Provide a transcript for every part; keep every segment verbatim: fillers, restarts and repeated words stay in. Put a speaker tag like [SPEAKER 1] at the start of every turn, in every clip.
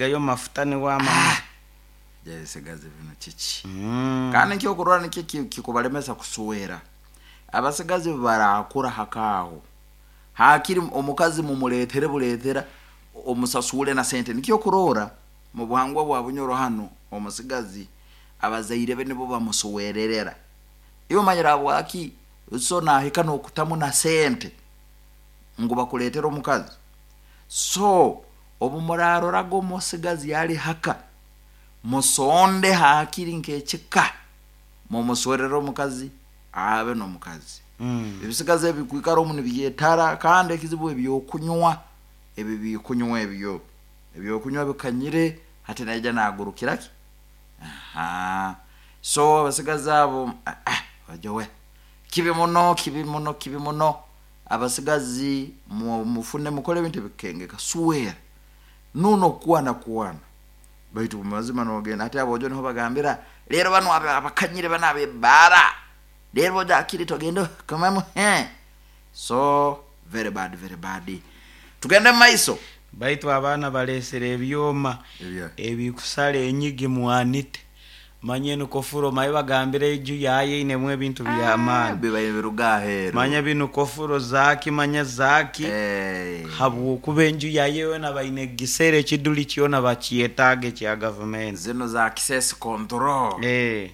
[SPEAKER 1] Gayo mafuta niwama.
[SPEAKER 2] Ebisigazi binu kiki?
[SPEAKER 1] Mm.
[SPEAKER 2] Kandi nkyokurora nikyo ki- kikubalemesa kuswera. Abasigazi barakura hakaaho, hakiri omukazi mumuletere buletera, omusasule na sente. Nikyo kurora mu buhangwa bwa Bunyoro hanu, omusigazi abazaire be nibo bamusowererera. Iwe omanyire habwaki? So nahika nokutamu na sente ngu bakuletere omukazi. So obu muraroraga omusigazi ali haka, musonde hakiri nk'ekika mumuswerere omukazi, abe n'omukazi.
[SPEAKER 1] Mm.
[SPEAKER 2] Ebisigazi ebi kwikara omu nibyetara, kandi ekizibu ebyokunywa, ebi bikunywa, ebyo ebyokunywa bikanyire. Hati naija nagurukira ki? Aha, so abasigazi abo, ah, ah, bajowe kibi muno, kibi muno, kibi muno. Abasigazi mu- mufune, mukole ebintu ebikengeka, swera nuno kwana kwana. Baitu mumazima nogenda hati abojo niho bagambira rero bano aba- abakanyire bano abebara rero bojo akiri togenda kamamu he. So very bad, very bad. Tugende mumaiso.
[SPEAKER 1] Baitu abaana balesere ebyoma
[SPEAKER 2] Ebya?
[SPEAKER 1] Ebikusala enyigi mwanite manye nukofuro maye bagambire eju yaye inemu ebintu byamaani.
[SPEAKER 2] Biba biruga aheru.
[SPEAKER 1] Manya binu kofuro zaki, manya zaki.
[SPEAKER 2] Eh.
[SPEAKER 1] Habwokuba enju yaye yona baine gisere ekiduli kyona bakyetaaga ekya gavumenti.
[SPEAKER 2] Zino za access control.
[SPEAKER 1] Eh.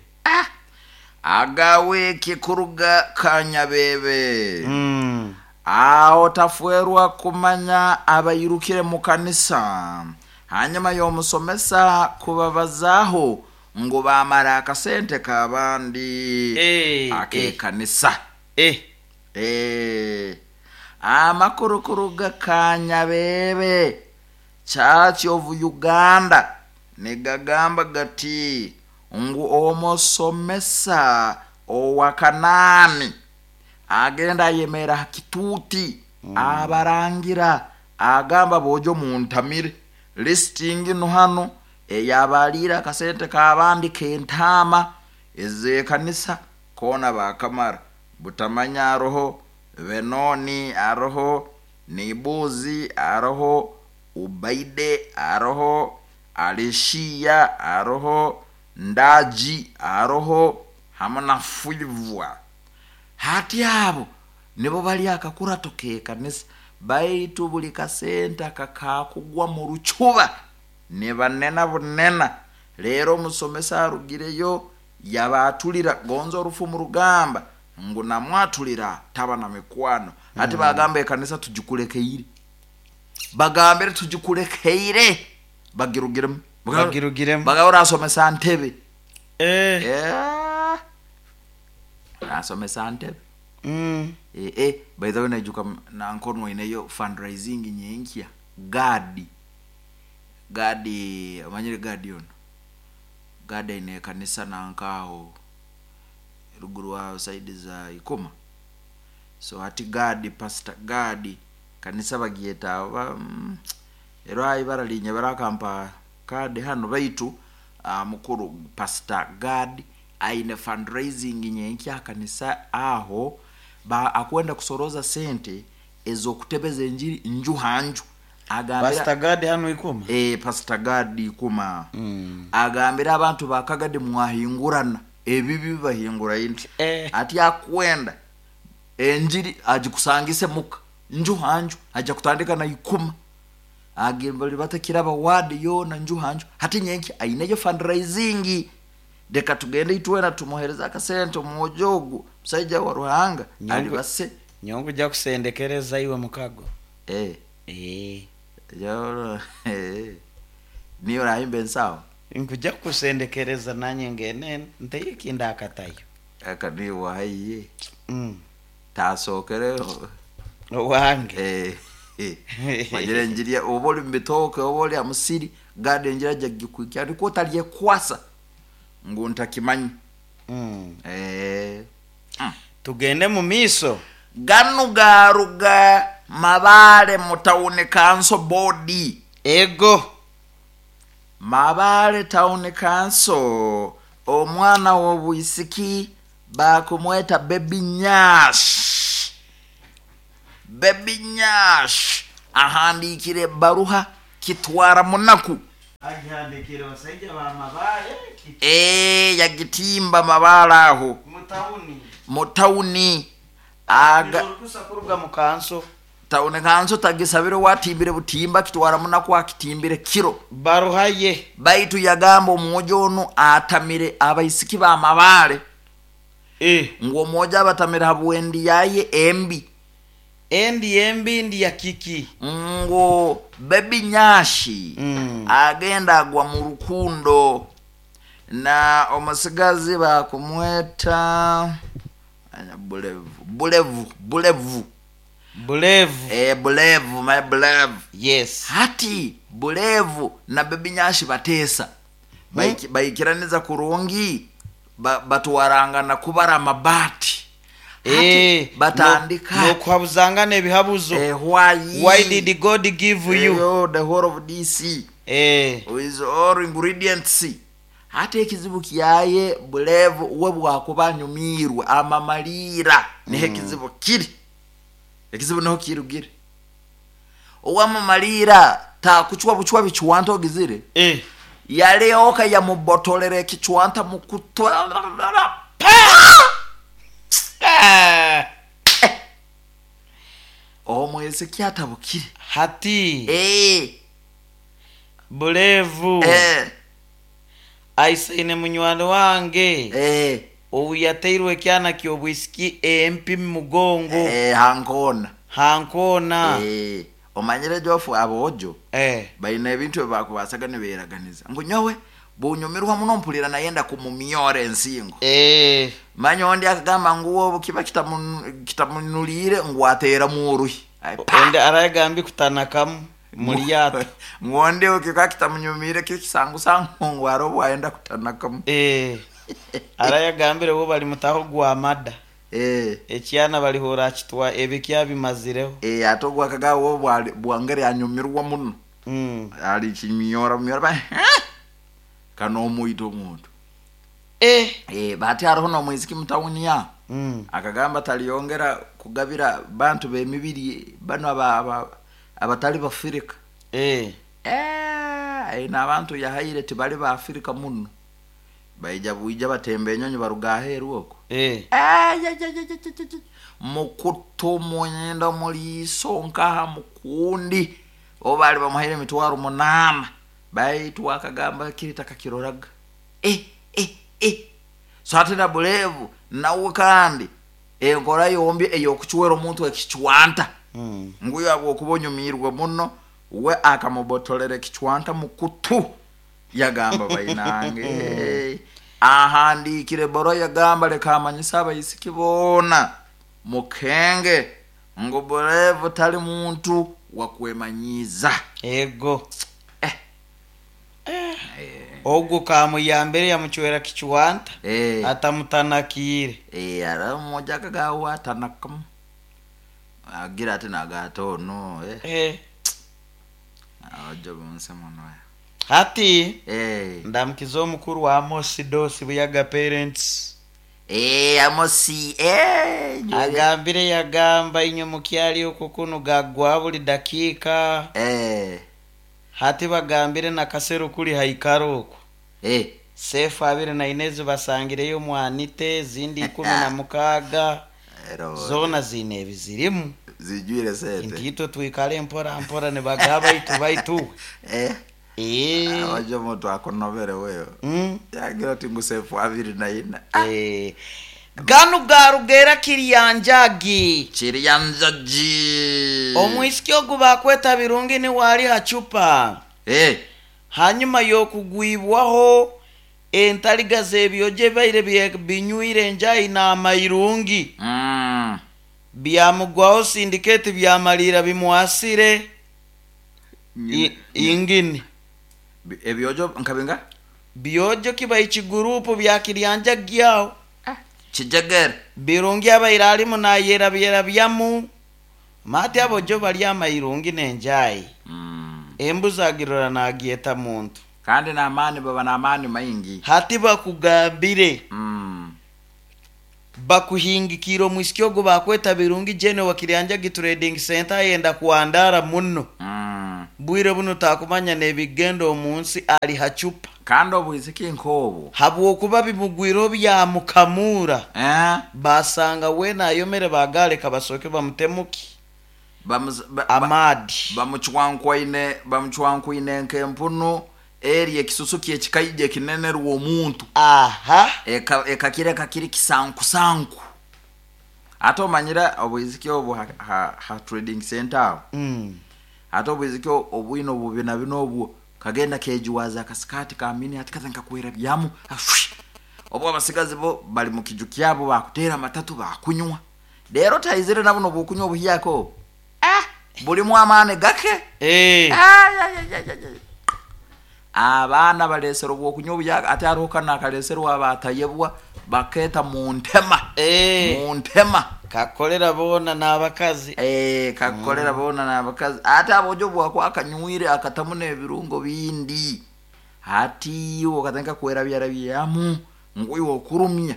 [SPEAKER 2] Agawiki kuruga Kanyabebe.
[SPEAKER 1] Mm.
[SPEAKER 2] Aho tafwerwa kumanya abairukire mu kanisa hanyuma y'omusomesa kubabazaaho ngu bamara akasente k'abandi
[SPEAKER 1] Eh,
[SPEAKER 2] ak'ekanisa.
[SPEAKER 1] Eh.
[SPEAKER 2] Eh, amakuru kuruga Kanyabebe, Church of Uganda, nigagamba gati ngu omusomesa owa Kanaani agenda ayemera ha kituuti, abarangira, agamba, "Bojo muntamire listing no hano eyabaliire akasente k'abandi k'entaama ez'ekanisa koona bakamara." Butamanya aroho Benoni, aroho Nibuzi, aroho Ubaide, aroho Alishiya, aroho Ndaji, aroho hamu na Fuivwa. Hati abo nibo bali akakurato k'ekanisa, baitu buli kasente akakakugwa mu rucuba nibanena bunena. Rero omusomesa arugireyo yabatulira gonza orufu mu rugamba ngu namwatulira taba na mikwano. Hati bagamba ekanisa tugikulekeire, bagambire tugikulekeire, bagirugiremu.
[SPEAKER 1] Bagirugiremu.
[SPEAKER 2] Bagaba orasomesa ntebe.
[SPEAKER 1] Eh.
[SPEAKER 2] Eh, orasomesa ntebe.
[SPEAKER 1] Mm.
[SPEAKER 2] Eh, eh, by the way, naijuka nankono ineyo fundraising nyenkya. Gadi, Gadi, omanyire Gadi ono? Gadi aine ekanisa nankaho ruguru aho side za Ikoma. So hati Gadi, Pastor Gadi, kanisa bagyeta oba mm, ero ibara linye barakampa kadi hano. Baitu uh, mukuru Pastor Gadi aine fundraising nyenkya kanisa aho, ba akwenda kusoroza sente ezokutebeza enjiri nju hanju. Agambira
[SPEAKER 1] Pastor Gadi hano Ikoma.
[SPEAKER 2] Eh, Pastor Gadi Ikoma.
[SPEAKER 1] Mm.
[SPEAKER 2] Agambira abantu bakagadi mwahingurana ebibi bahingura indi.
[SPEAKER 1] Eh.
[SPEAKER 2] Ati akwenda enjiri agikusangise muka nju hanju, aja kutandika na Ikuma, agembali batakiraba wadi yona nju hanju. Hati nyenki aineyo fundraising, reka tugende itwena tumuhereza akasente omwojogu musaija wa Ruhanga.
[SPEAKER 1] Nyongo-
[SPEAKER 2] Ali base.
[SPEAKER 1] Nyongo ujja kusendekereza iwe mukago.
[SPEAKER 2] Eh.
[SPEAKER 1] Eh.
[SPEAKER 2] Yo, eh, niyo rahimba ensawo.
[SPEAKER 1] Nkuja kusendekereza nanye ngene nteikinda akatayo.
[SPEAKER 2] Aka niyo wahiye.
[SPEAKER 1] Mm.
[SPEAKER 2] Tasookere.
[SPEAKER 1] Owange.
[SPEAKER 2] Eh, eh. Manyire enjiri oba oli mubitooke oba oli amusiri gada enjiri ajja gikwikya nikwo otalyekwasa ngu ntakimanyi.
[SPEAKER 1] Mm.
[SPEAKER 2] Eh. Mm.
[SPEAKER 1] Tugende mu miiso.
[SPEAKER 2] Ganu garuga Mabale mu town council board.
[SPEAKER 1] Ego.
[SPEAKER 2] Mabale Town Council, omwana w'obwisiki bakumweta Baby Nyash. Baby Nyash ahandikire baruha kitwara munaku.
[SPEAKER 1] Agihandikire basaija b'amabaale ki-
[SPEAKER 2] e yagitimba mabaale aho
[SPEAKER 1] mu tawuni.
[SPEAKER 2] Mu tawuni aga.
[SPEAKER 1] Orukusa kuruga mu kanso.
[SPEAKER 2] Tawuni kanso tagisabire, watimbire butimba kitwara munaku akitimbire kiro.
[SPEAKER 1] Baruhaye.
[SPEAKER 2] Baitu yagamba omwojo onu atamire abaisiki b'amabaale.
[SPEAKER 1] Eh.
[SPEAKER 2] Ngu omwojo abatamire habwendi yaye embi.
[SPEAKER 1] Endi embi ndi ya kiki?
[SPEAKER 2] Ngo Baby Nyashi
[SPEAKER 1] Mm.
[SPEAKER 2] agenda agwa mu rukundo na omusigazi bakumweta anya bulevu bulevu bulevu.
[SPEAKER 1] Bulevu.
[SPEAKER 2] E, bulevu, my bulevu.
[SPEAKER 1] Yes.
[SPEAKER 2] Hati bulevu na Baby Nyashi bateesa. Baiki- baikiraniza kurungi, ba, batwarangana kubara amabati. Hati
[SPEAKER 1] Eh,
[SPEAKER 2] batandika
[SPEAKER 1] no- n'okuhabuzangana ebihabuzo.
[SPEAKER 2] eh, why
[SPEAKER 1] Why did God give you
[SPEAKER 2] Eyo, the whole of D C
[SPEAKER 1] eh
[SPEAKER 2] with all ingredients. Hati ekizibu kyaye bulevu we bwakuba anyumirwe amamaliira, niho ekizibu kiri, ekizibu niho kirugire. Owamamaliira takuchwa buchwa bichwanta ogizire.
[SPEAKER 1] Eh
[SPEAKER 2] yalioka yamubotolera ekichwanta mukutwa.
[SPEAKER 1] Ah,
[SPEAKER 2] Omwezi kyatabukire.
[SPEAKER 1] Hati
[SPEAKER 2] Eh,
[SPEAKER 1] bulevu
[SPEAKER 2] eh,
[SPEAKER 1] aisaine munywani wange
[SPEAKER 2] eh,
[SPEAKER 1] obu yateirwe ekyana ky'obwisiki empi mu mugongo.
[SPEAKER 2] eh, hankona.
[SPEAKER 1] Hankona.
[SPEAKER 2] Eh, omanyire jofu abojo
[SPEAKER 1] eh
[SPEAKER 2] baina ebintu ebibakubasaga niberaganiza ngu nyowe bunyumirwa muno mpulira nayenda kumumyora ensingo.
[SPEAKER 1] Eh
[SPEAKER 2] manya ondi akagamba ngu obu kiba kitamun- kitamunulire ngu ateeramu oruhi. Ai, pa!
[SPEAKER 1] Ondi aragambi kutanakamu mulyato.
[SPEAKER 2] Ngu ondi kika kitamunyumire kikisangusangu ngu aro bwayenda kutanakamu.
[SPEAKER 1] Eh, arayagambire bo bali mutaho gwa mada.
[SPEAKER 2] Eh,
[SPEAKER 1] ekyana balihora akitwa ebikya bimazireho.
[SPEAKER 2] Eh, ate ogwo akagawo bwali- bwangeri anyumirwa muno.
[SPEAKER 1] Mm.
[SPEAKER 2] Ali kimyora myora ba "Eh!" Kano omwita omuntu.
[SPEAKER 1] Eh.
[SPEAKER 2] Eh, bati hariho nomwiziki mutawuni ya
[SPEAKER 1] Mm.
[SPEAKER 2] akagamba taliyongera kugabira bantu bemibiri bano aba- aba- abatali bafirika.
[SPEAKER 1] Eh.
[SPEAKER 2] Eh, aina abantu yahaire tibali baafirika muno, baija bwija batemba enyonyi baruga aheeru okwo.
[SPEAKER 1] Eh.
[SPEAKER 2] Eh, ya, ya, ya, ya, ya, ya. Mukutu munyenda muliiso nkaha mukundi obo bali bamuhaire emitwaro munaana, baitu akagamba kiri takakiroraga. Eh, eh, eh. So ate na bulevu nawe kandi enkora yombi ey'okucwera omuntu ekicwanta.
[SPEAKER 1] Mm.
[SPEAKER 2] Nguyo abwokuba onyumirwe muno we akamubotolera ekicwanta mukutu, yagamba bainange ahandikire boro, yagamba leka amanyise abaisiki boona mukenge ngu bulevu tali muntu wakwemanyiza.
[SPEAKER 1] Ego.
[SPEAKER 2] Eh.
[SPEAKER 1] Ogwo kamuyambire yamucwera kichwanta.
[SPEAKER 2] Eh,
[SPEAKER 1] atamutanakiire.
[SPEAKER 2] Eh, ara mmoja akagawa atanakamu agira ati nagata ono eh.
[SPEAKER 1] Eh.
[SPEAKER 2] Abajo bonse muno.
[SPEAKER 1] Hati
[SPEAKER 2] eh.
[SPEAKER 1] ndamukiza omukuru wa Amosi Dosi Buyaga parents.
[SPEAKER 2] Eh, Amosi eh,
[SPEAKER 1] agambire yagamba inywe mukyali okwo kuno gagwa buli dakiika.
[SPEAKER 2] Eh,
[SPEAKER 1] hati bagambire nakaseru kuli haikaro okwo.
[SPEAKER 2] Eh.
[SPEAKER 1] Sefu abiri na inezi basangireyo mwanite zindi ikumi na mukaaga.
[SPEAKER 2] Ero,
[SPEAKER 1] zoona ziine ebizirimu.
[SPEAKER 2] Zijwire sente.
[SPEAKER 1] Nti twikale mpora mpora nibagaba itu baitu.
[SPEAKER 2] Eh,
[SPEAKER 1] Eh.
[SPEAKER 2] abajo omuntu akonovere weyo.
[SPEAKER 1] Mm.
[SPEAKER 2] Yagira ati ngu sefu abiri na ina.
[SPEAKER 1] Eh. Ganu garugera kiryanjagi.
[SPEAKER 2] Kiryanjagi.
[SPEAKER 1] Omwisiki ogu bakweta Birungi ni wali hacupa.
[SPEAKER 2] Eh,
[SPEAKER 1] hanyuma y'okugwibwaho entaliga z'ebyojo baire bye- binywire enjayi n'amairungi.
[SPEAKER 2] Mm.
[SPEAKER 1] Byamugwaho sindiketi byamalira bimwasire I- ingini.
[SPEAKER 2] Bi- ebyojo nkabinga?
[SPEAKER 1] Byojo kiba ekigurupu bya kiryanjagi aho.
[SPEAKER 2] Kijegere.
[SPEAKER 1] Birungi abaire alimu nayerabyerabyamu mati abojo bali amairungi n'enjayi.
[SPEAKER 2] Mm.
[SPEAKER 1] Embuzi agirora nagyeta muntu.
[SPEAKER 2] Kandi n'amaani baba n'amaani maingi.
[SPEAKER 1] Hati bakugambire
[SPEAKER 2] Mm.
[SPEAKER 1] bakuhingikira omwisiki ogwo bakweta Birungi jene wa Kiryanjagi Trading Center ayenda kuandara muno.
[SPEAKER 2] Mm.
[SPEAKER 1] Bwire buno takumanya n'ebigenda omu nsi, ali hacupa.
[SPEAKER 2] Kandi obwisiki nk'obwo
[SPEAKER 1] Habwokuba bimugwire byamukamura.
[SPEAKER 2] Eh?
[SPEAKER 1] Basanga wena ayomere, bagaleka basooke bamutemuki
[SPEAKER 2] Bamuz- ba- ba-
[SPEAKER 1] amaadi.
[SPEAKER 2] Bamucwankwaine, bamucwankwaine nk'empunu eri ekisusu kyekikaija ekinenerwa omuntu.
[SPEAKER 1] Aha.
[SPEAKER 2] Eka- ekakireka kiri kisankusanku. Ate omanyire obwiziki obwo ha, ha, ha trading center aho.
[SPEAKER 1] Mm.
[SPEAKER 2] Ate obwiziki obwine obubina bino obwo kagenda kejuwaza akasikati kamini ati kaza nkakwera byamu ashwi. Obwo abasigazi bo bali mu kiju kyabo, bakutera amatatu, bakunywa rero taizire nabo nobukunywa obuhyako ah bulimu amaani gake.
[SPEAKER 1] Eh.
[SPEAKER 2] Ay, ay, ay, ay, ay. Abaana balesera obwokunywa obuyaga, ate hariho kano akaleserwa abatayebwa baketa mu ntema.
[SPEAKER 1] Eh.
[SPEAKER 2] Mu ntema.
[SPEAKER 1] Kakolera boona n'abakazi.
[SPEAKER 2] Eh, kakolera boona n'abakazi. Ate abojo bwako akanywire akatamu n'ebirungo bindi, ati iwe okatandika kwerabyarabyamu ngu iwe okurumya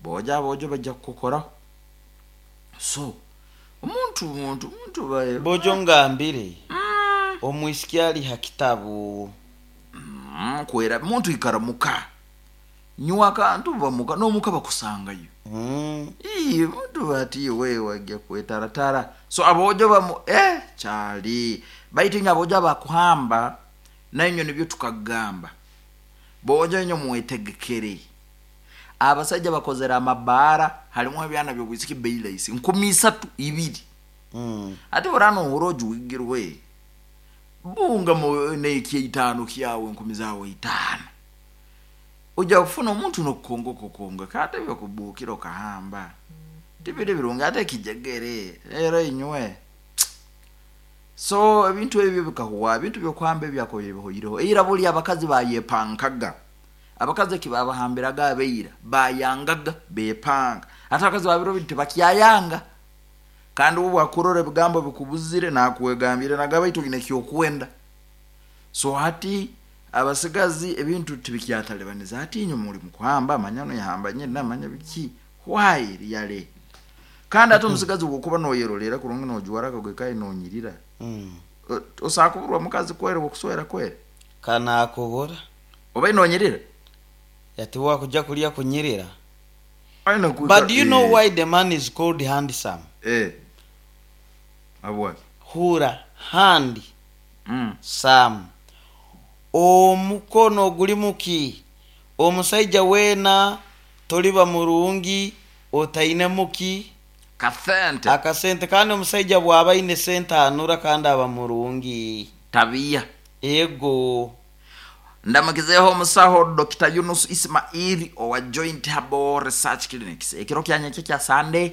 [SPEAKER 2] boja, abojo bajja kukukoraho. So omuntu muntu muntu bae-
[SPEAKER 1] Bojo ngambire omwisiki ali ha kitabu.
[SPEAKER 2] Mm, kwera muntu ikara muka, nywa akantu, bamuka n'omuka bakusangayo.
[SPEAKER 1] Mm.
[SPEAKER 2] Ii, muntu bati we wajja kwetaratara. So abojo bamu eh kyali baitu inye abojo abakuhamba nainyo nibyo tukagamba bojo inyo mwetegekere. Abasajja bakozera amabaara halimu ebyana byobwisiki beilaisi nkumi isatu ibiri.
[SPEAKER 1] Mm.
[SPEAKER 2] Ate orano ohura ojuwigirwe bunga mu nekyeitaano kyawe, enkumi zawe itaano, ojja kufuna omuntu nokukonga okukonga kate byokubukira okahamba tibiri birungi ate kijegere era inywe. So ebintu ebyo bikahuwa, ebintu byokuhamba ebyakoire bihoireho. Eira buli abakazi bayepankaga, abakazi ekibabahambiraga abeira bayangaga bepanga. Ate abakazi babiro bintu tebakyayanga. Kandi ubu bwakurora ebigambo bikubuzire nakwegambire nagaba itu gine kyokwenda. So hati abasigazi ebintu tibikyatalibaniza. Hati inyo muri mukuhamba amanyano yahamba nyina amanya biki why yale. Kandi ate omusigazi wokuba noyerolera kurungi nojuwara kagwe nonyirira.
[SPEAKER 1] Mm.
[SPEAKER 2] O- osakuburwa mukazi kwere wokuswera kwere.
[SPEAKER 1] Kanakubura.
[SPEAKER 2] Oba inonyirira.
[SPEAKER 1] Yati wakuja kulya kunyirira.
[SPEAKER 2] Aina kuika-
[SPEAKER 1] But do you know
[SPEAKER 2] eh,
[SPEAKER 1] why the man is called handsome?
[SPEAKER 2] Eh, abwa
[SPEAKER 1] Hura hand
[SPEAKER 2] mm.
[SPEAKER 1] sam, omukono guli muki omusajja weena toliba murungi otaine muki
[SPEAKER 2] Kasente.
[SPEAKER 1] Akasente. Kandi omusajja bw'aba aine sente anura kandi aba murungi.
[SPEAKER 2] Tabiya.
[SPEAKER 1] Ego.
[SPEAKER 2] Ndamukizeho omusaho Doctor Yunus Ismaili owa Joint Herbal Research Clinics. Ekiro kyanyekyo kya Sunday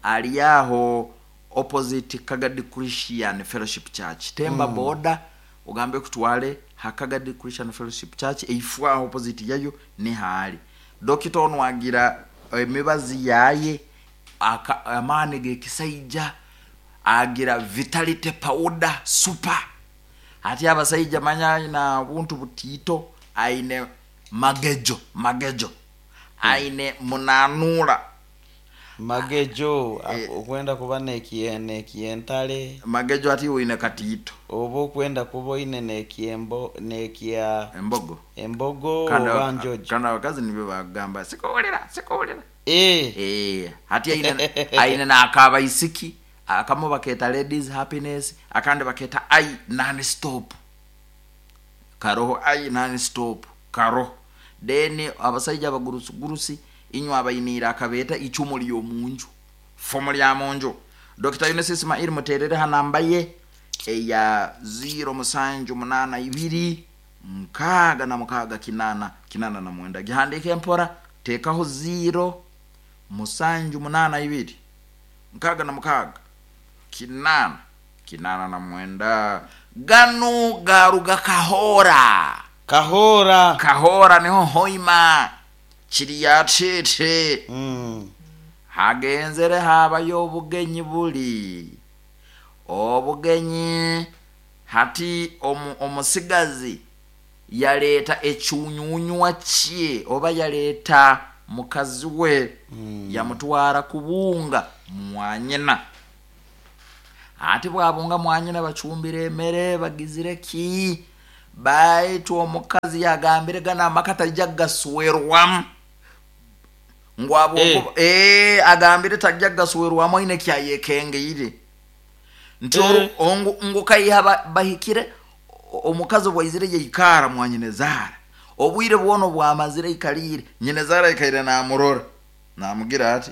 [SPEAKER 2] ali aho opposite Kagadi Christian Fellowship Church, temba mm. boda ugambe kutwale ha Kagadi Christian Fellowship Church, eifwa aho opposite yayo ni haali dokita ono agira emibazi yaye aka- amaani gekisaija, agira vitality powder super. Ati abasaija manya aina buntu butiito, aine magejo magejo, aine munanura.
[SPEAKER 1] Magejo okwenda kuba nekiye- nekyentale.
[SPEAKER 2] Magejo ati oine katiito.
[SPEAKER 1] Oba okwenda kuba oine nekyembo nekya
[SPEAKER 2] Embogo.
[SPEAKER 1] Embogo.
[SPEAKER 2] Kandi
[SPEAKER 1] oba
[SPEAKER 2] aba-
[SPEAKER 1] njojo.
[SPEAKER 2] Kandi abakazi nibyo bagamba sikuwulira sikuwulira.
[SPEAKER 1] Eh,
[SPEAKER 2] Eh, hati aine aine nakabaisiki akamu baketa ladies happiness, akandi baketa ai non stop karoho, ai non stop karoho. Then abasaija abagurusi inywe abainira akabeta icumu lyomunju, fomu lya munju. Doctor Yunus Ismail muterere hanamba ye eya zero musanju munana ibiri nkaaga na mukaaga kinana kinana na mwenda. Gihandike mpora, tekaho zero musanju munana ibiri nkaaga na mukaaga kinana kinana na mwenda. Ganu garuga Kahora.
[SPEAKER 1] Kahora.
[SPEAKER 2] Kahora niho hoima kiriya cece.
[SPEAKER 1] Mm.
[SPEAKER 2] Hagenzere habayo obugenyi, buli obugenyi hati omu, omusigazi yaleeta ekyunyunywa kye oba yaleeta mukazi we mm. yamutwara kubunga mwanyina. Ati bwabunga mwanyina bacumbire emere bagizire ki, baitu omukazi yagambire gana amaka tajja gaswerwamu ngu
[SPEAKER 1] Eh.
[SPEAKER 2] eh, agambire tajja gaswerwamu aine kyayekengeire nti
[SPEAKER 1] Eh.
[SPEAKER 2] oru- ongu- ngu kaiha ba- bahikire o- omukazi bwaizire yaikara mwanyinezaara obwire bwona bwamazire ikaliire, nyinezaara aikaire namurora namugira ati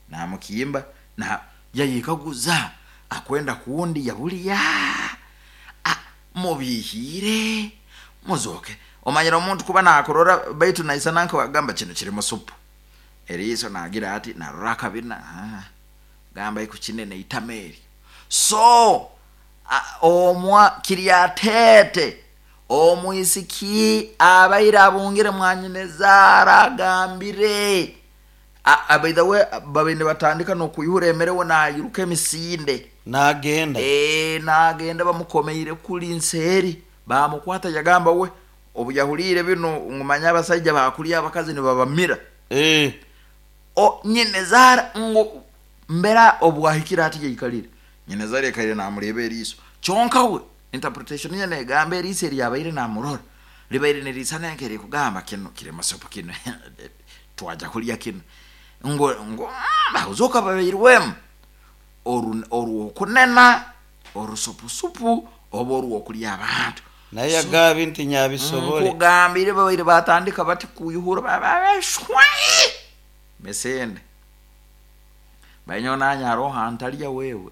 [SPEAKER 2] namukimba na yayikaguza akwenda kundi yabuliya. Ah, mubihire muzoke omanyira omuntu kuba nakurora baitu naisana nkawagamba kino kiri musupu eriiso nagira ati narora akabina, ah, gamba iku kinene itama eryo so a- omwa kiryatete omwisiki abaire abungire mwanyinezaara agambire. A- a- by the way, babaire batandika nokuyihura emere we nayiruka emisinde.
[SPEAKER 1] Nagenda.
[SPEAKER 2] Eh, nagenda bamukomeire kuli nseeri bamukwata yagamba we obu yahuliire bino ngumanya abasaija bakulya abakazi nibabamira.
[SPEAKER 1] Eh.
[SPEAKER 2] O nyinezaara ngu mbera obwahikire ati yaikalire nyinezaara ekaire namureba eriiso kyonka we interpretation ye negamba eriiso eryabaire namurora libaire nirisana nkerikugamba kino kiri musupu kino twaja kulya kino ngo ngo bahuzoka babairwemu oru orwokunena orusupusupu oba orwokulya abantu.
[SPEAKER 1] Naye yagambye nti nyabisobole.
[SPEAKER 2] Nkugambire babaire batandika bati kuyuhura bababeshwe mesende banyonanya aroho antalya wewe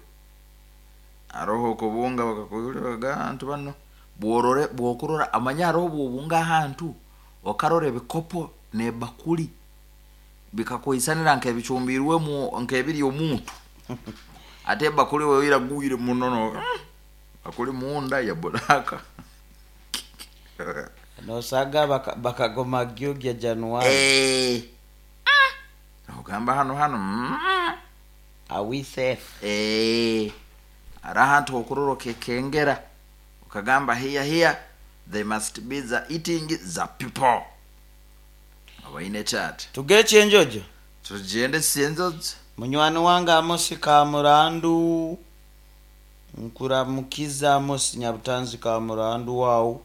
[SPEAKER 2] aroho okubunga bakakuyura bagantu bano bworore bwokurora amanya aroho bwobunga ahantu okarora ebikopo nebakuli bikakwisanira nkebicumbirwemu nkebiri omuntu ate ebakuli wewe iragwire muno no bakuli munda ya buraka.
[SPEAKER 1] Nosaga baka- bakagoma gyogya January.
[SPEAKER 2] Eh. Ogamba hano hano mm.
[SPEAKER 1] Are we safe?
[SPEAKER 2] Eh. Ari ahantu hokurora okekengera okagamba here here they must be the eating the people abaine chat.
[SPEAKER 1] Tugere kyenjojo.
[SPEAKER 2] Tugende sinzozo.
[SPEAKER 1] Munywani wange Amosi Kamurandu, nkuramukiza Amosi Nyabutanzi Kamurandu wawu.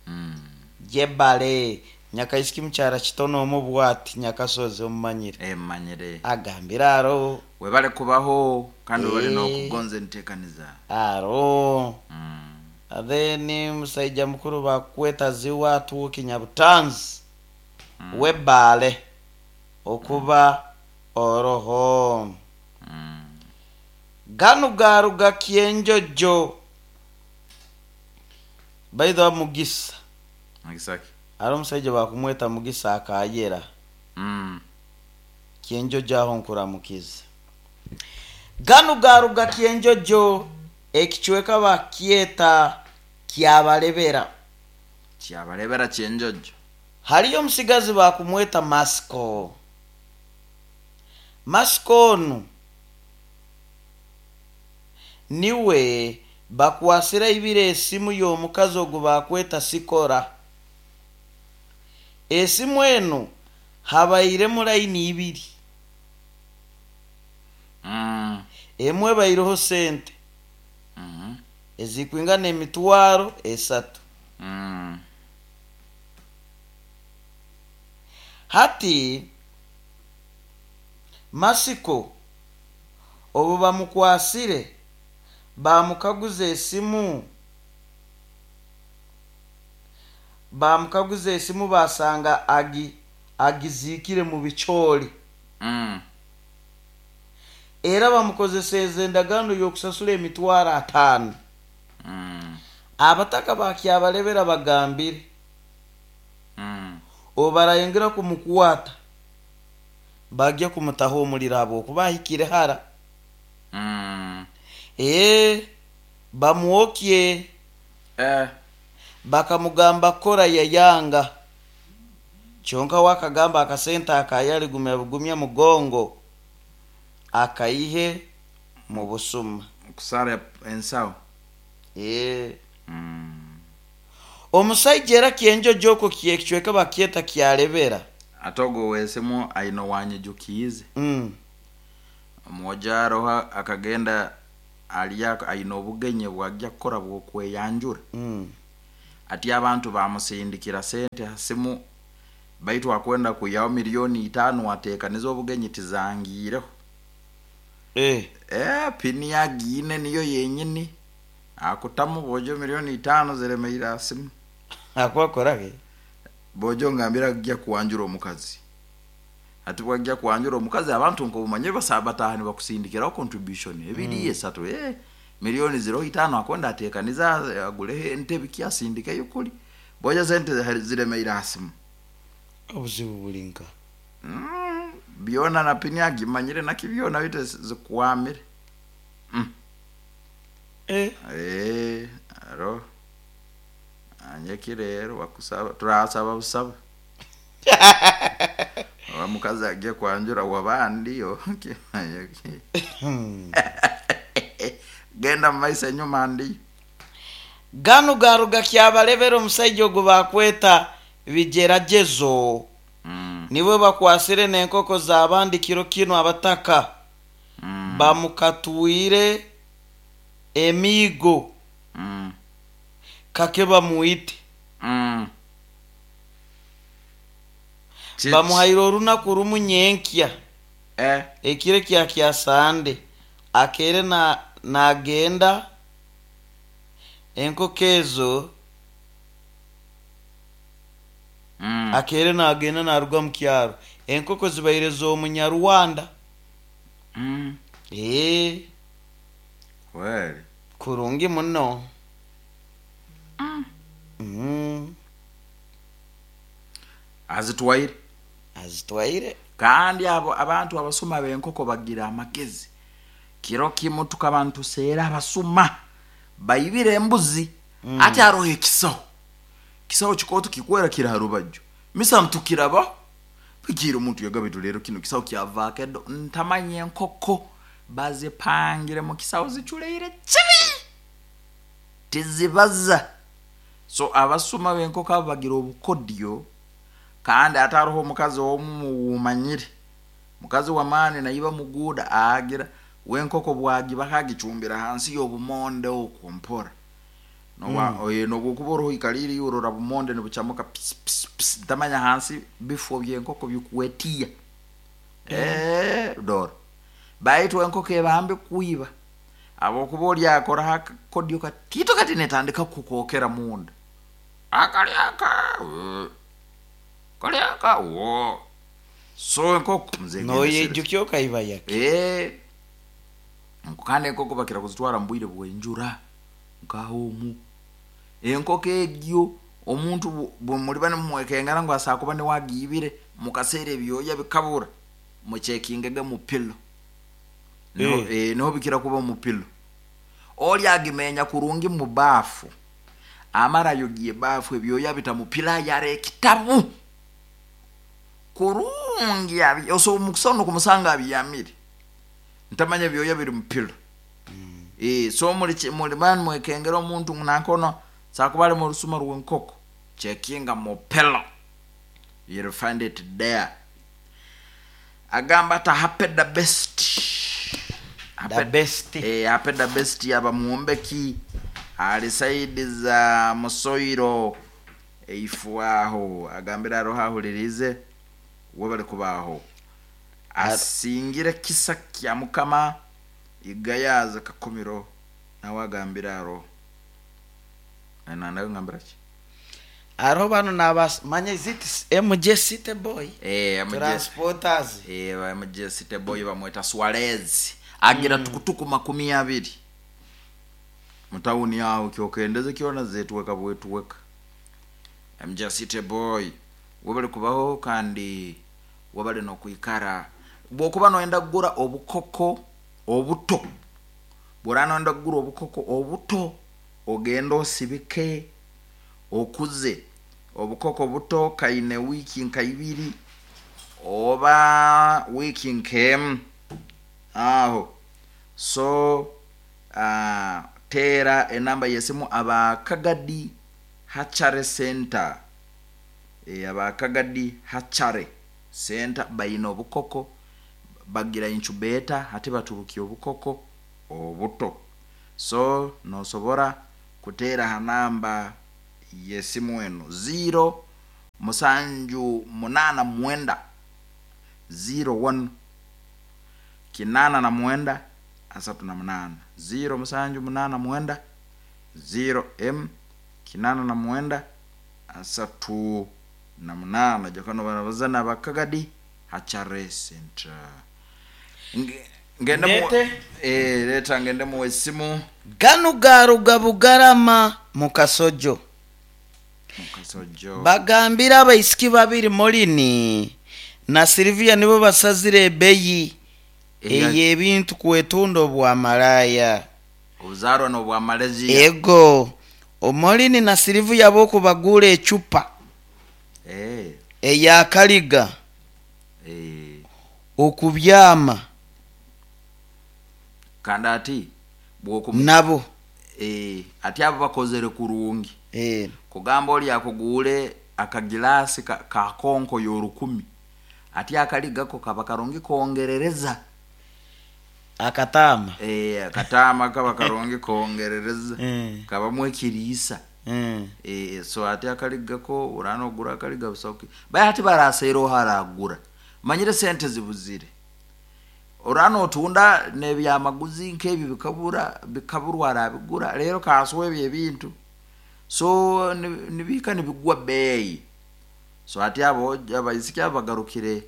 [SPEAKER 2] mm.
[SPEAKER 1] Jebale nyakaisiki mukyara kitono omu bwati nyakasozi omumanyire.
[SPEAKER 2] Emanyire.
[SPEAKER 1] Agambire aro.
[SPEAKER 2] Webale kubaho kandi webale
[SPEAKER 1] Eh.
[SPEAKER 2] n'okugonza enteekaniza.
[SPEAKER 1] Aro.
[SPEAKER 2] mm.
[SPEAKER 1] Then musaija mukuru bakweta ziwa atuuki Nyabutanzi mm. webale okuba oroho.
[SPEAKER 2] Mm.
[SPEAKER 1] Ganu garuga kyenjojo baitha mugisa.
[SPEAKER 2] Mugisa ki?
[SPEAKER 1] Ari omusaija bakumweta Mugisa akayera.
[SPEAKER 2] mm.
[SPEAKER 1] Kyenjojo aho nkuramukiza ganu garuga kyenjojo ekicweka bakyeta kyabalebera.
[SPEAKER 2] Kyabalebera kyenjojo.
[SPEAKER 1] Haliyo omusigazi bakumweta Masiko. Masiko onu niwe bakwasira ibire esimu y'omukazi ogu bakweta Sikora. Esimu eno habairemu layini ibiri.
[SPEAKER 2] mm.
[SPEAKER 1] Emwe ebaireho sente
[SPEAKER 2] mm
[SPEAKER 1] ezikwingana emitwaro esatu.
[SPEAKER 2] -hmm. mm.
[SPEAKER 1] Hati Masiko obu bamukwasire bamukaguza esimu bamukaguza esimu basanga agi agizikire mu bicooli.
[SPEAKER 2] mm.
[SPEAKER 1] Era bamukozeseza endagaano y'okusasula emitwaro ataano.
[SPEAKER 2] mm.
[SPEAKER 1] Abataka bakyabalebera bagambire
[SPEAKER 2] mm.
[SPEAKER 1] obu barayongera kumukwata bagya kumutaho omuliro habwokuba ahikire hara.
[SPEAKER 2] mm.
[SPEAKER 1] Ee bamwokye.
[SPEAKER 2] Eh.
[SPEAKER 1] Bakamugamba kora yayanga kyonka wakagamba akasente akayali gumya bugumya mugongo akaihe mu busuma.
[SPEAKER 2] Kusara ensawo.
[SPEAKER 1] Ee.
[SPEAKER 2] mm.
[SPEAKER 1] Omusaija era kyenjojo okwo kyekicweka bakyeta kyalebera.
[SPEAKER 2] Ate ogwo wesemu aine wanyijukiize.
[SPEAKER 1] mm.
[SPEAKER 2] Omwojo aroho akagenda Alya aine obugenyi bwajja kukora bwokweyanjura.
[SPEAKER 1] Mm.
[SPEAKER 2] Ati abantu bamusindikira sente ha simu, baitu akwenda kwihaho miliyoni itaano ateekanize obugenyi tizangiireho.
[SPEAKER 1] Eh.
[SPEAKER 2] Eh, pini yagiine niyo yenyini akutamu bojo miliyoni itaano ziremeire ha simu.
[SPEAKER 1] Akwakorage.
[SPEAKER 2] Bojo ngambira ajja kuwanjura omukazi, ati bwajja kuwanjura omukazi abantu nkobumanyire basaba bataaha nibakusindikiraho contribution ebiri mm. esatu, eh, miliyoni ziro itaano akwenda ateekaniza aguleho entebe ki asindikeyo kuli bojo sente ziremeire ha simu.
[SPEAKER 1] Obuzibu bulinka.
[SPEAKER 2] Mm, byona na pini agimanyire naki byona bite zikwamire. Mm.
[SPEAKER 1] Eh.
[SPEAKER 2] Eh, aro anyeki rero bakusaba turasaba busaba oba mukazi agiye kwanjura wabandi okimanyeki genda mumaiso enyuma ndiyo.
[SPEAKER 1] Gano garuga kyabalebera omusajja ogwo bakweta bigeragezo.
[SPEAKER 2] Mm.
[SPEAKER 1] Niwe bakwasire n'enkoko z'abandi kiro kino abataka.
[SPEAKER 2] Mm.
[SPEAKER 1] Bamukatwire emiigo.
[SPEAKER 2] Mm.
[SPEAKER 1] Kake bamuite.
[SPEAKER 2] Mm. Chichi.
[SPEAKER 1] Bamuhaire orunaku rumu nyenkya.
[SPEAKER 2] Eh.
[SPEAKER 1] Ekiro kya kya Sande akere na nagenda enkoko ezo.
[SPEAKER 2] Mm.
[SPEAKER 1] Akere nagenda naruga mu kyaro enkoko zibaire z'omunyarwanda.
[SPEAKER 2] Mm.
[SPEAKER 1] Eh.
[SPEAKER 2] Kweli.
[SPEAKER 1] Kurungi muno. Mm. Mm.
[SPEAKER 2] Azitwaire.
[SPEAKER 1] Azitwaire.
[SPEAKER 2] Kandi abo abantu abasuma b'enkoko bagira amagezi. Kiro kimu tukaba ntuseera abasuma baibire embuzi. Mm. Ati aroho ekisaho. Kisaho kikooto kikwera kiri ha rubaju. Misa ntukiraba. Pikira omuntu yagabitu rero kino kisaho kyavaako eddo ntamanye enkoko bazipangire mu kisaho ziculeire kibi. Tizibaza. So abasuma b'enkoko abo bagira obukodyo. Kandi ate hariho omukazi omu wumanyire. Mukazi w'amaani naiba muguuda agira w'enkoko bwagiba agicumbira hansi y'obumonde okwo mpora. Noba mm. Oye nobwokuba oroho ikaliri urora bumonde nibucamuka pis pis pis ntamanya hansi bifo by'enkoko bikuwetiya. Eh, dora. Baitu enkoko ebambe kuiba. Abokuba oli akora akakodyo katito kati netandika kukokera munda. Akali aka. Kali aka. Wo. So enkoko mzee.
[SPEAKER 1] Noyejukyo kaiba yake.
[SPEAKER 2] Eh. Kandi enkoko bakira kuzitwara mbwire bwenjura nkahomu. Enkoko egyo omuntu bwemuliba nimwekengera ngu asakuba niwagibire mukaseera ebyoya bikabura muchekingege mu pillow. No,
[SPEAKER 1] Eh.
[SPEAKER 2] eh, niho bikira kuba mu pillow. Oli agimenya kurungi mu baafu. Amara yogiye baafu ebyoya bita mu pillow yare ekitabu. Kurungi abi oso mukusono kumusanga abiyamire. Ntamanya ebyoya biri mu pillow. Mm. Eh, so muri muri man mwekengera omuntu nankono sakubale mu rusuma rw'enkoko. Checkinga mu pillow. You'll find it there. Agamba ata happy the best.
[SPEAKER 1] The best.
[SPEAKER 2] Eh, happy the best aba muombeki ali saidi za musoiro eifuaho agambira aroha ahulirize webale kubaho asingire kisa kya mukama igayaza kakomiro nawe agambira aro nanawe ngambira ki
[SPEAKER 1] Hariho bano nabas manya is it M J City Boy?
[SPEAKER 2] Eh, M J
[SPEAKER 1] Transporters.
[SPEAKER 2] Eh, M J City Boy bamweta Suarez agira mm. tukutuku makumi abiri mutawuni yawo kyokendeze kyona zetuweka bwetuweka. M J City Boy webale kubaho kandi webale nokwikara bwokuba noyenda kugura obukoko obuto bwora noyenda kugura obukoko obuto ogenda osibike okuze obukoko buto kaine wiki nka ibiri oba wiki nkemu aho. So uh, tera enamba yesimu abakagadi Hachare Center. E, abakagadi Hachare Center bayina obukoko bagira incubator ate baturukia obukoko obuto. So nosobora kuteera ha namba y'esimu eno ziro musanju munaana mwenda ziro one kinaana na mwenda asatu na munaana ziro musanju munaana mwenda ziro m kinaana na mwenda asatu na munaana. Jakano barabazana bakagadi hachare center. Nge- ngende mu
[SPEAKER 1] Ndete?
[SPEAKER 2] eh leta ngende mu esimu.
[SPEAKER 1] Ganu garuga Bugarama mu Kasojo.
[SPEAKER 2] Mukasojo.
[SPEAKER 1] Bagambira abaisiki babiri, Molini na Silvia, nibo basazire ebeyi
[SPEAKER 2] Eya-
[SPEAKER 1] ey'ebintu kwetunda obwamalaya.
[SPEAKER 2] Obuzarwa n'obwa Malaysia.
[SPEAKER 1] Ego omolini na Silvia bokubagula ecupa
[SPEAKER 2] eh
[SPEAKER 1] eyakaliga
[SPEAKER 2] eh
[SPEAKER 1] okubyama
[SPEAKER 2] kandi ati bwokum
[SPEAKER 1] nabo.
[SPEAKER 2] eh ati abo bakozere kurungi.
[SPEAKER 1] Eh,
[SPEAKER 2] kugamba oli akuguule akagilasi ka, ka konko y'orukumi, ati akaligako kaba karungi kongerereza.
[SPEAKER 1] Akatama.
[SPEAKER 2] Eh, akatama kaba karungi kongerereza.
[SPEAKER 1] Eh.
[SPEAKER 2] Kabamu ekiriisa.
[SPEAKER 1] Eh.
[SPEAKER 2] Eh, so ati akaligako urana ogura akaliga busoki baye ati baraseera oharagura manyire sente zibuzire, urana otunda nebyamaguzi nk'ebyo bikabura bikaburwa arabigura rero kaswa ebyo ebintu, so ni- nibika nibigwa beeyi. So ati abo abaisiki abo bagarukire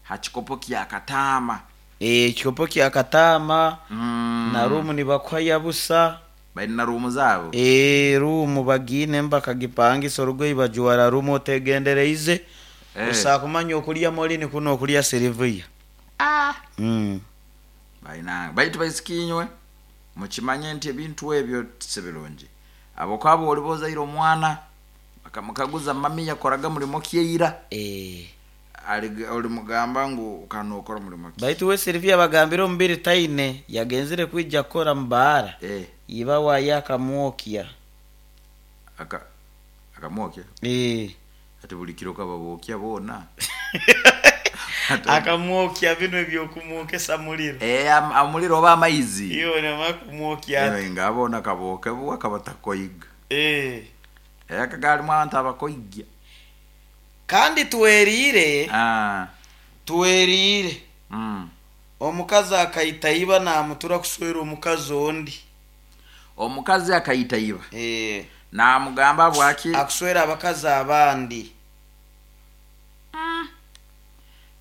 [SPEAKER 2] ha kikopo kya katama.
[SPEAKER 1] Eh, ekikopo kya katama.
[SPEAKER 2] mm.
[SPEAKER 1] Na rumu nibakuha busa.
[SPEAKER 2] Balina ruumu zaabo.
[SPEAKER 1] Eh, rumu bagine bakagipangisa orugoyi bajuwara rumu otegendereize.
[SPEAKER 2] Eh.
[SPEAKER 1] Usa kumanya okulya Molini kuno okulya Silvia.
[SPEAKER 2] Ah.
[SPEAKER 1] mm.
[SPEAKER 2] Balina baitu baisiki inywe mukimanye nti ebintu ebyo si birungi, abo kwabo oliba ozaire omwana bakamukaguza mami yakoraga mulimo kyeira.
[SPEAKER 1] Eh.
[SPEAKER 2] Ali- olimugamba ngu kano okora mulimo ki?
[SPEAKER 1] Baitu we Silvia bagambire omubiri taine yagenzire kwija kukora mubaara.
[SPEAKER 2] Eh,
[SPEAKER 1] iba waye akamwokya.
[SPEAKER 2] Aka akamwokya?
[SPEAKER 1] Eh.
[SPEAKER 2] Ati buli kiro kababokya boona.
[SPEAKER 1] Akamwokya bino ebyokumwokesa muliro.
[SPEAKER 2] Eh, am- amuliro oba amaizi.
[SPEAKER 1] Iyo nama kumwokya.
[SPEAKER 2] Eh, nga boona kabokebwa kabatakoiga.
[SPEAKER 1] Eh.
[SPEAKER 2] Eh, akagalimu abantu abakoigya.
[SPEAKER 1] Kandi tweriire.
[SPEAKER 2] Ah,
[SPEAKER 1] Tweriire.
[SPEAKER 2] mm.
[SPEAKER 1] Omukazi akayita iba namutura kuswera omukazi ondi.
[SPEAKER 2] Omukazi akayita iba
[SPEAKER 1] Eh.
[SPEAKER 2] namugamba bwaki?
[SPEAKER 1] Akuswera abakazi abandi.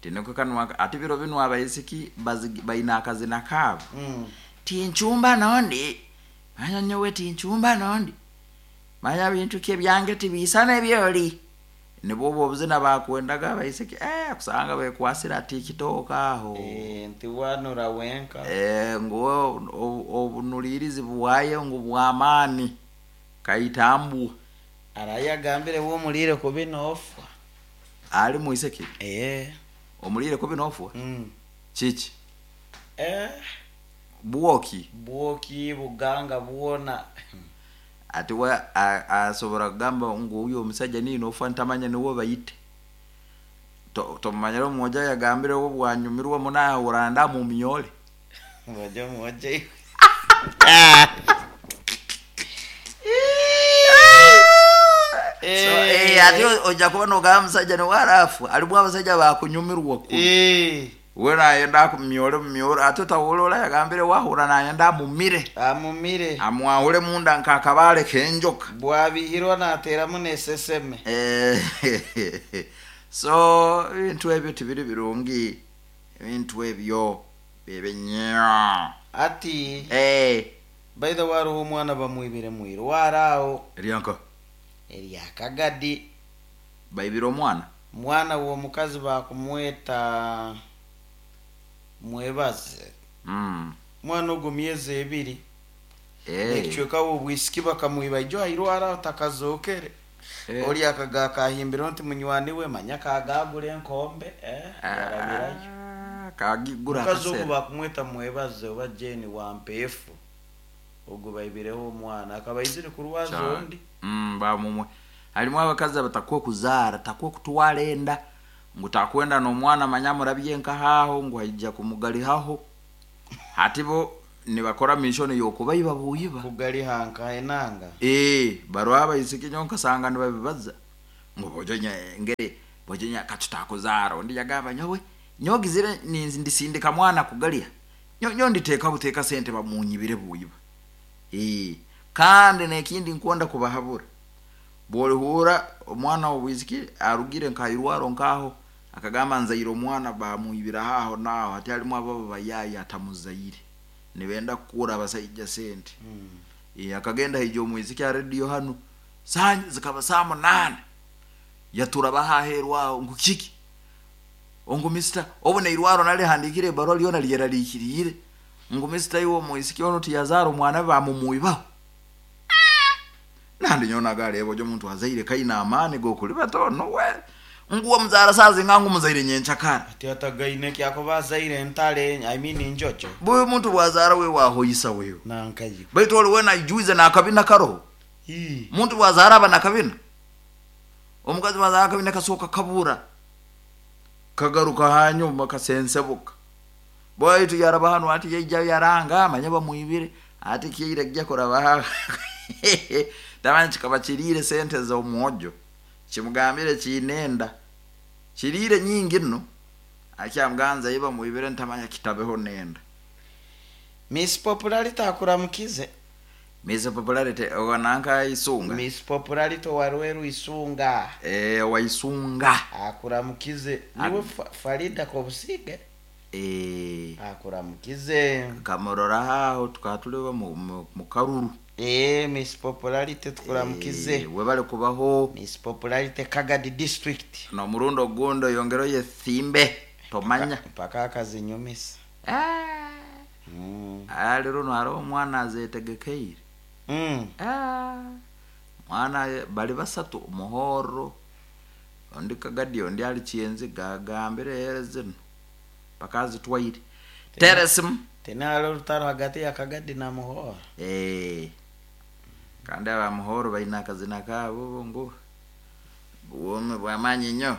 [SPEAKER 2] Tiniko kanwa ati biro bino abaisiki bazigi- baina akazina kaabo.
[SPEAKER 1] Mm.
[SPEAKER 2] Tinchumba nondi manya nyowe tinchumba nondi manya bintu kye byange tibisana ebyoli nibwo obuzina bakwendaga abaisiki, eh, kusanga bekwasira ati kitooka aho.
[SPEAKER 1] Eh, nti wanura wenka.
[SPEAKER 2] Eh, ngu obunulirizi buwaye ngu bwamaani kaitambwa.
[SPEAKER 1] Araye agambire womulire kubi nofa.
[SPEAKER 2] Ali muiseki?
[SPEAKER 1] Eh.
[SPEAKER 2] Omulire kubi nofwa?
[SPEAKER 1] Mm.
[SPEAKER 2] Kiki?
[SPEAKER 1] Eh.
[SPEAKER 2] Bwoki?
[SPEAKER 1] Bwoki buganga bwona.
[SPEAKER 2] Ati we a- asobora kugamba ngu uyo omusajja niino ofa ntamanya niwe bayite. To- tomumanyire omwojo yagambire obwo bwanyumirwa munahuranda mumyole.
[SPEAKER 1] Ngoja mwoja.
[SPEAKER 2] So, eh, ati ojja kuba nogamba musajja niwe arafu alimu abasajja bakunyumirwa ku
[SPEAKER 1] Eh.
[SPEAKER 2] we nayenda akumyole mumyole ate otawolola yagambire wahura nayenda amumire.
[SPEAKER 1] Amumire.
[SPEAKER 2] Amwahule munda nkakabaale kenjoka.
[SPEAKER 1] Bwabihirwa nateramu neseseme.
[SPEAKER 2] Eh, so ebintu ebyo tibiri birungi, ebintu ebyo bibi nnyo.
[SPEAKER 1] Ati
[SPEAKER 2] Eh,
[SPEAKER 1] by the way hariho omwana bamwibire mwirwara aho.
[SPEAKER 2] Eryanka?
[SPEAKER 1] Eryakagadi.
[SPEAKER 2] Baibire omwana?
[SPEAKER 1] Mwana w'omukazi bakumweta Mwebaze.
[SPEAKER 2] Mm.
[SPEAKER 1] Mwana ogwo myezi ebiri.
[SPEAKER 2] Eh,
[SPEAKER 1] Ekicweka obwisiki bakamwiba ijo airwara aho takazokere.
[SPEAKER 2] Eh.
[SPEAKER 1] Oli akaga kahimbiro nti munywani we manya kagagura enkombe, eh, yarabirayo.
[SPEAKER 2] Ah, kagigura.
[SPEAKER 1] Mukazi ogu
[SPEAKER 2] Akasera.
[SPEAKER 1] bakumweta Mwebaze oba Jeni Wampeefu, ogwo baibireho omwana akaba aizire kurwaza
[SPEAKER 2] Cyane.
[SPEAKER 1] ondi.
[SPEAKER 2] Mm, bamumwe halimu abakazi abatakwe kuzaara takwe kutwara enda ngu takwenda n'omwana manya murabye nkahaho ngu haija kumugalihaho hati bo Nibakora mission y'okubaiba buyiba.
[SPEAKER 1] Kugali hanka enanga.
[SPEAKER 2] Eh, barwa abaisiki nyo nkasanga nibabibaza ngo bojonya ngere bojonya katutakuzaara. Ondi yagamba, nyowe nyogizire ninzi ndisindika mwana kugalya, nyo nyo nditeeka buteeka sente bamunyibire buyiba. Eh, kandi nekindi nkwonda kubahabura, bwolihura omwana w'obwisiki arugire nkairwaro nkaho akagamba nzaire omwana bamwibira haho naho, hati halimu ababa bayayi atamuzaire nibenda kukura abasaija sente.
[SPEAKER 1] Mm.
[SPEAKER 2] E, akagenda haija omwisiki ha radio hanu saa zikaba saa munana yatura bahaherwa aho ngu kiki ongu mister obu neirwaro nalihandikire ebarua lyona lyeraliikiriire ngu mister iwe omwisiki ono tiyazaara omwana bamumwibaho. Nandi nyona gareba ojo omuntu azaire kaina amaani g'okulibata ono we nguwo muzaara saa zinga ngu muzaire nyenchakara.
[SPEAKER 1] Ati atagaine kyakuba azaire entale, I mean injojo.
[SPEAKER 2] Buyu omuntu bwazaara we wahoyisa wewe.
[SPEAKER 1] Nankayi.
[SPEAKER 2] Baitu oli wena aijuize n'akabina karoho.
[SPEAKER 1] Ii.
[SPEAKER 2] Muntu bwazaara aba nakabina, omukazi bwazaara akabina kasooka kabura kagaruka hanyuma kasensebuka. Bwaitu yaraba hanu ati yaija yaranga amanya bamwibire ati kiire kijja kuraba tamanyi kikaba kiriire sente z'omwojo kimugambire kinenda kiriire nyingi nno akyamuganza ye bamwibire ntamanya kitabeho nenda.
[SPEAKER 1] Miss Popularity akuramukize.
[SPEAKER 2] Miss Popularity owananka Isunga.
[SPEAKER 1] Miss Popularity warweru Isunga.
[SPEAKER 2] Eh, wa Isunga.
[SPEAKER 1] Akuramukize. Niwe fa Farida Kobusige.
[SPEAKER 2] Eh.
[SPEAKER 1] Akuramukize.
[SPEAKER 2] Kamurora haho tukatuleba mu, mu, mu karuru.
[SPEAKER 1] Eh, Miss Popularity tukuramukize.
[SPEAKER 2] Eh, webale kubaho.
[SPEAKER 1] Miss Popularity Kagadi District.
[SPEAKER 2] No murundo gundo yongero ye thimbe tomanya.
[SPEAKER 1] Mpaka akazinyumisa.
[SPEAKER 2] Ah.
[SPEAKER 1] Mm.
[SPEAKER 2] Ah, lero no haro omwana azetegekeire.
[SPEAKER 1] Mm.
[SPEAKER 2] Ah. Mwana bali basatu muhoro. Ondi Kagadi ondi ali chienzi gagambire here zino. Pakazi twaire. Teresim.
[SPEAKER 1] Tena haro rutaro hagati ya Kagadi na Muhoro.
[SPEAKER 2] Eh. Kandi aba Muhoro baina akazina kabo ngo buwome bwamanyi nnyo.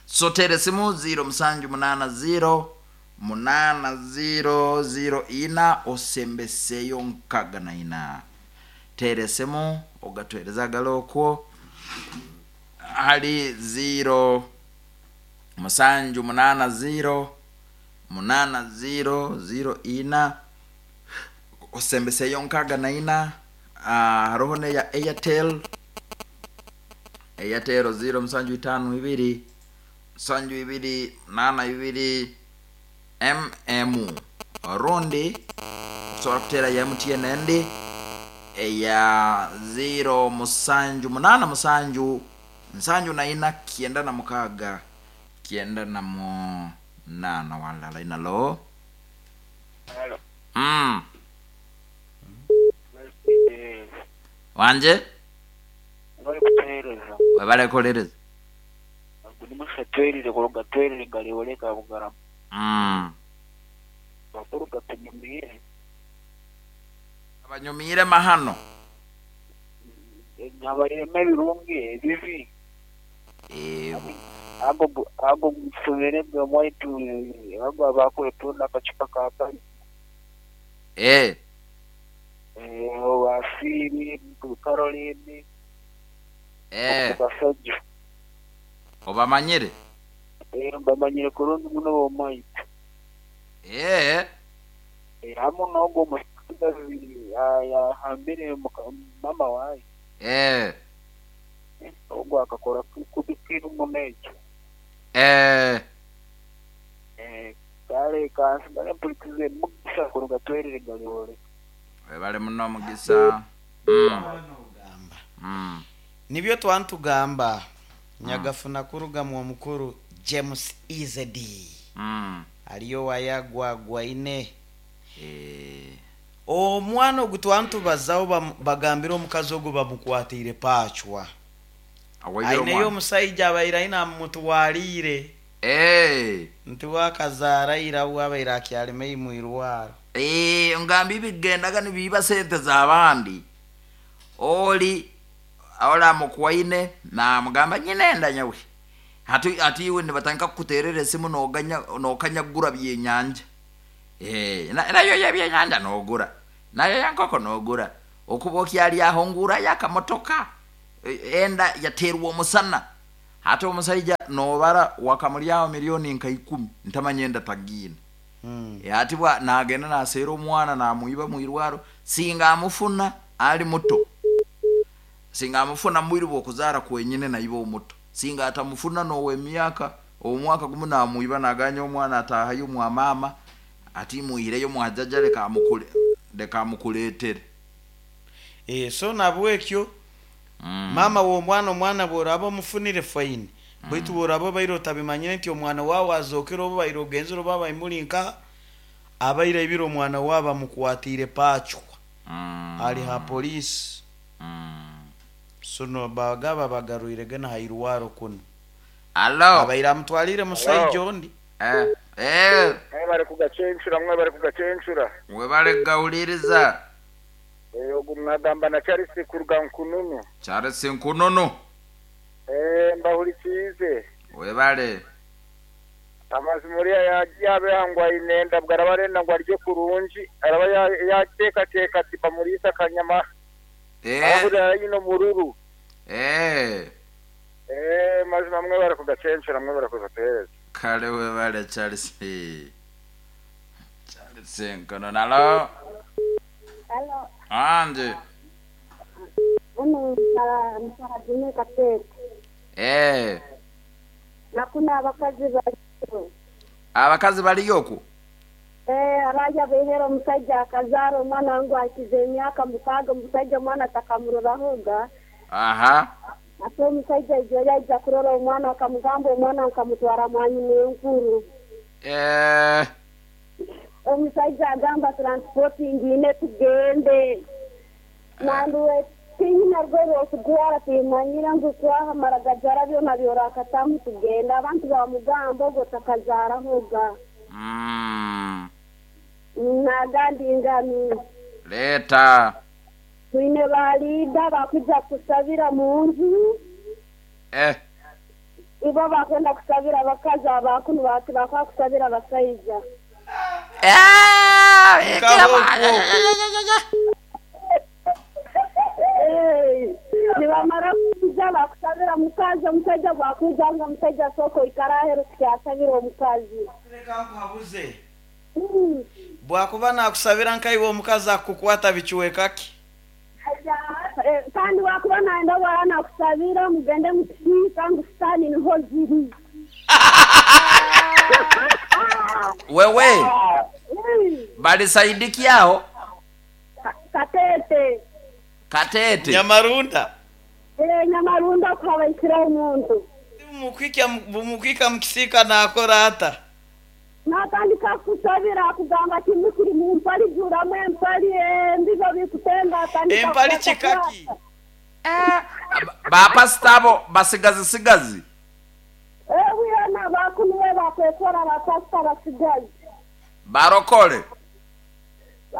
[SPEAKER 2] So teresimu zero musanju munana zero munana zero zero ina osembeseyo nkaga na ina. Teresimu ogatwereza galokwo hali zero musanju munana zero munana zero zero ina osembeseyo nkaga na ina. Ah, haroho ne ya Airtel. Airtel zero musanju itanu ibiri musanju ibiri nana ibiri M M orundi osobola kutera ya M T N endi eya zero musanju munana musanju nsanju na ina kienda na mukaga kienda na munana walala inalo.
[SPEAKER 3] Halo.
[SPEAKER 2] Mm. Wanje?
[SPEAKER 3] Bali kutuhereza.
[SPEAKER 2] Webale kuhereza.
[SPEAKER 3] Gulimusa twerire kuruga twerire ngalioleka bugarama.
[SPEAKER 2] Mm.
[SPEAKER 3] Bakuruga tunyumire.
[SPEAKER 2] Abanyumire mahano.
[SPEAKER 3] Nyabareme birungi ebibi.
[SPEAKER 2] Eh.
[SPEAKER 3] Ago ago musubire bwe mwaitu ago abakwetu nakachupa ka kali.
[SPEAKER 2] Eh.
[SPEAKER 3] Eh, wasiri Caroline.
[SPEAKER 2] Eh.
[SPEAKER 3] Basajja.
[SPEAKER 2] Obamanyire?
[SPEAKER 3] Eh, mbamanyire kurungi muno bomaitu.
[SPEAKER 2] Eh.
[SPEAKER 3] Eh, hamu n'ogwo omusigazi yahambire mama waye.
[SPEAKER 2] Eh.
[SPEAKER 3] Ogwo akakora kubikiru muno ekyo.
[SPEAKER 2] Eh.
[SPEAKER 3] Eh, kale kansigale mpulikize mugisa kuruga twerire galiwole.
[SPEAKER 2] Webale muno mugisa. Mm. Mm.
[SPEAKER 1] Nibyo twantugamba nyagafuna kuruga mu mukuru James Izedi.
[SPEAKER 2] Mm.
[SPEAKER 1] Aliyo wayagwa gwaine.
[SPEAKER 2] Eh.
[SPEAKER 1] Omwana ogutwantubazaho bagambira omukazi ogwo bamukwatire pachwa. Aineyo omusajja abaire aine amutwalire.
[SPEAKER 2] Eh.
[SPEAKER 1] Nti wakazaara ira wabaire akyalime mwirwaro.
[SPEAKER 2] Eh, ngamba ibigendaga nibiba sente z'abandi. Oli ola mukwaine na mugamba nyinenda nyawe. Hati ati iwe nibatanga kukuterera esimu noganya nokanyagura byenyanja. Eh, na- nayo yebyenyanja nogura, nayo yankoko nogura, okuba okyali aho ngurayo akamotoka. E- enda yaterwa omusana, hati omusaija nobara wakamulyaho milioni nka ikumi, ntamanya enda tagiina.
[SPEAKER 1] Mm.
[SPEAKER 2] E, ati bwa nagenda naseera omwana namuiba mwirwaro, singa amufuna ali muto, singa amufuna mwiri bwokuzaara kwenyine naiba omuto, singa atamufuna nowemyaka omwaka gumu namuiba, naganya omwana atahayo mwa mama, ati muihireyo mwajaja, leka amukule, leka amukuleetere.
[SPEAKER 1] Eh, so nabwekyo
[SPEAKER 2] mm.
[SPEAKER 1] Mama w'omwana, omwana bw'oraba omufunire, fine, baitu bw'oraba obaire otabimanyire nti omwana waawe azookere, oba baire ogenzere, oba baimuli nka abaire ibire, omwana wawe bamukwatiire pacwa,
[SPEAKER 2] Mm.
[SPEAKER 1] ali ha poliisi.
[SPEAKER 2] Mm.
[SPEAKER 1] So no bagaba bagarwire gena hairwaro kuno.
[SPEAKER 2] Alo.
[SPEAKER 1] Abaire amutwalire musaija ondi.
[SPEAKER 2] Eh, eh,
[SPEAKER 3] Mwe bari kugacencura, mwe bari kugacencura.
[SPEAKER 2] Webale gawuliriza.
[SPEAKER 3] Eh, ogu mwagamba na Charles kuruga Nkununu.
[SPEAKER 2] Charles Nkununu.
[SPEAKER 3] Eh, mbahurikize.
[SPEAKER 2] Webale.
[SPEAKER 3] Amazima uriya yabe ngo ayinenda bwo araba arenda ngo arye kurungi, araba ya- yateekateeka ati bamuriisa akanyama.
[SPEAKER 2] Eh,
[SPEAKER 3] Ahurira yino mururu.
[SPEAKER 2] eh.
[SPEAKER 3] Eh, mazima mwe bari kugacencura, mwe bari kugateereza.
[SPEAKER 2] Kale, webale Charles. Charles Nkununu, alo.
[SPEAKER 4] Halo,
[SPEAKER 2] Anje.
[SPEAKER 4] uno msahadine Katete.
[SPEAKER 2] Eh,
[SPEAKER 4] Nakuna abakazi baliyo.
[SPEAKER 2] Abakazi baliyo okwo?
[SPEAKER 4] Eh, abaja behera omusajja akazaara omwana ngu akize emyaka mukaaga, omusajja omwana atakamurorahoga.
[SPEAKER 2] Aha.
[SPEAKER 4] Ate omusajja ijo yaija kurora omwana, akamugamba omwana nkamutwara mwanyina enkuru.
[SPEAKER 2] Eh,
[SPEAKER 4] Omusajja agamba transport ngine tugende. Nanduwe tinyina rwe rwokugwara, timanyira ngu kwahamara gajara byona byorakatamu tugenda, abantu bamugamba ogwo takazaarahoga.
[SPEAKER 2] Mm,
[SPEAKER 4] Nagandi ngami.
[SPEAKER 2] Leta.
[SPEAKER 4] Twine baliida bakuja kusabira mu nju.
[SPEAKER 2] Eh,
[SPEAKER 4] Ibo bakwenda kusabira abakazi, abakunu bati bakwa kusabira abasaija.
[SPEAKER 2] Eh,
[SPEAKER 1] Kaboko.
[SPEAKER 4] Eh, nibamara kuja bakusabira mukazi, omusaija bwakwijanga, omusaija soko ikara aheru tukyasabira omukazi.
[SPEAKER 1] Leka nkuhabuze.
[SPEAKER 4] Mm.
[SPEAKER 1] Bwakuba nakusabira nkaiwe omukazi akukwata bikiwekaki.
[SPEAKER 4] Eh, kandi wakuba naenda bwara nakusabira mugende mukisiika ngu sitaani niho ziri.
[SPEAKER 2] Wewe,
[SPEAKER 4] Mm.
[SPEAKER 2] balisaidikiaho?
[SPEAKER 4] Ka- Katete.
[SPEAKER 2] Katete.
[SPEAKER 1] Nyamarunda.
[SPEAKER 4] Eh, Nyamarunda kuhabaikira omuntu.
[SPEAKER 1] Bumukwika, bumukwika mukisiika nakora ata?
[SPEAKER 4] Natandika kusabira akugamba kimwe kiri mu mpali, juramu empali embibo bikutenga, atandika
[SPEAKER 1] Empali
[SPEAKER 4] kukwata.
[SPEAKER 1] kikaki?
[SPEAKER 2] Eh, bapasita abo basigazi sigazi.
[SPEAKER 4] Eh, wiyona bakunuwe bakwekora bapasita basigazi.
[SPEAKER 2] Barokole.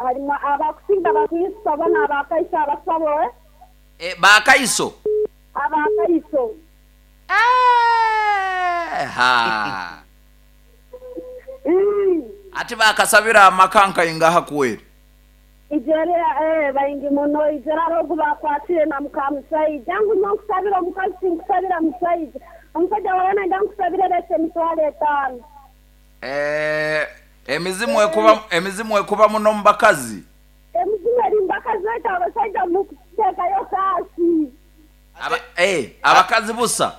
[SPEAKER 4] Harimu abakusinga bakristo bona abakaiso abasabo, eh?
[SPEAKER 2] Eh, bakaiso.
[SPEAKER 4] Abakaiso.
[SPEAKER 2] Eh, ha.
[SPEAKER 4] Mm.
[SPEAKER 2] Ati bakasabira amakanka ingaha kweri.
[SPEAKER 4] Ijere eh, baingi muno, ijere arogu bakwatire na mukamusaija ngu nonkusabira omukazi, sinkusabira musaija, omusajja wawe nenda nkusabire leta emitwalo etaano.
[SPEAKER 2] Eh, emizimu ekuba emizimu ekuba muno mu bakazi.
[SPEAKER 4] Emizimu eri mubakazi, baita abasaija mukuteekayo kaasi.
[SPEAKER 2] Aba, eh, abakazi busa.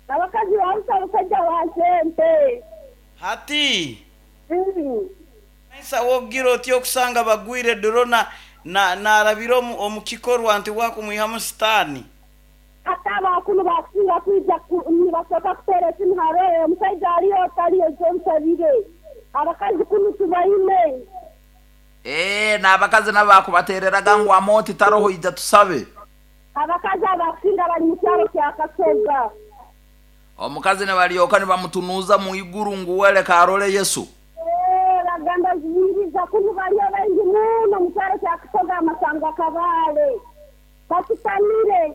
[SPEAKER 4] Abakazi babusa, abasajja ba sente.
[SPEAKER 1] Hati
[SPEAKER 4] Mm.
[SPEAKER 1] nsa wogira oti okusanga bagwire duro na na narabira omu omu kikorwa nti wakumwihamu sitaani.
[SPEAKER 4] Ate abakulu bakusinga kwija ku- nibasooka kuteera esimu haro, omusajja aliyo otaliyo gyonsabire, abakazi kunu tubaine.
[SPEAKER 2] Eh, n'abakazi nabo bakubatereraga ngu amoti taroho, ija tusabe.
[SPEAKER 4] Abakazi abakusinga bali mu kyalo kya Kasoga.
[SPEAKER 2] Omukazi ne balyoka ne bamutunuuza mu iguru ngu weleka arole Yesu.
[SPEAKER 4] Eh, baganda ziyiriza kunu baliyo baingi muno mu kyalo kya Kasoga, amasanga Kabale batutamire.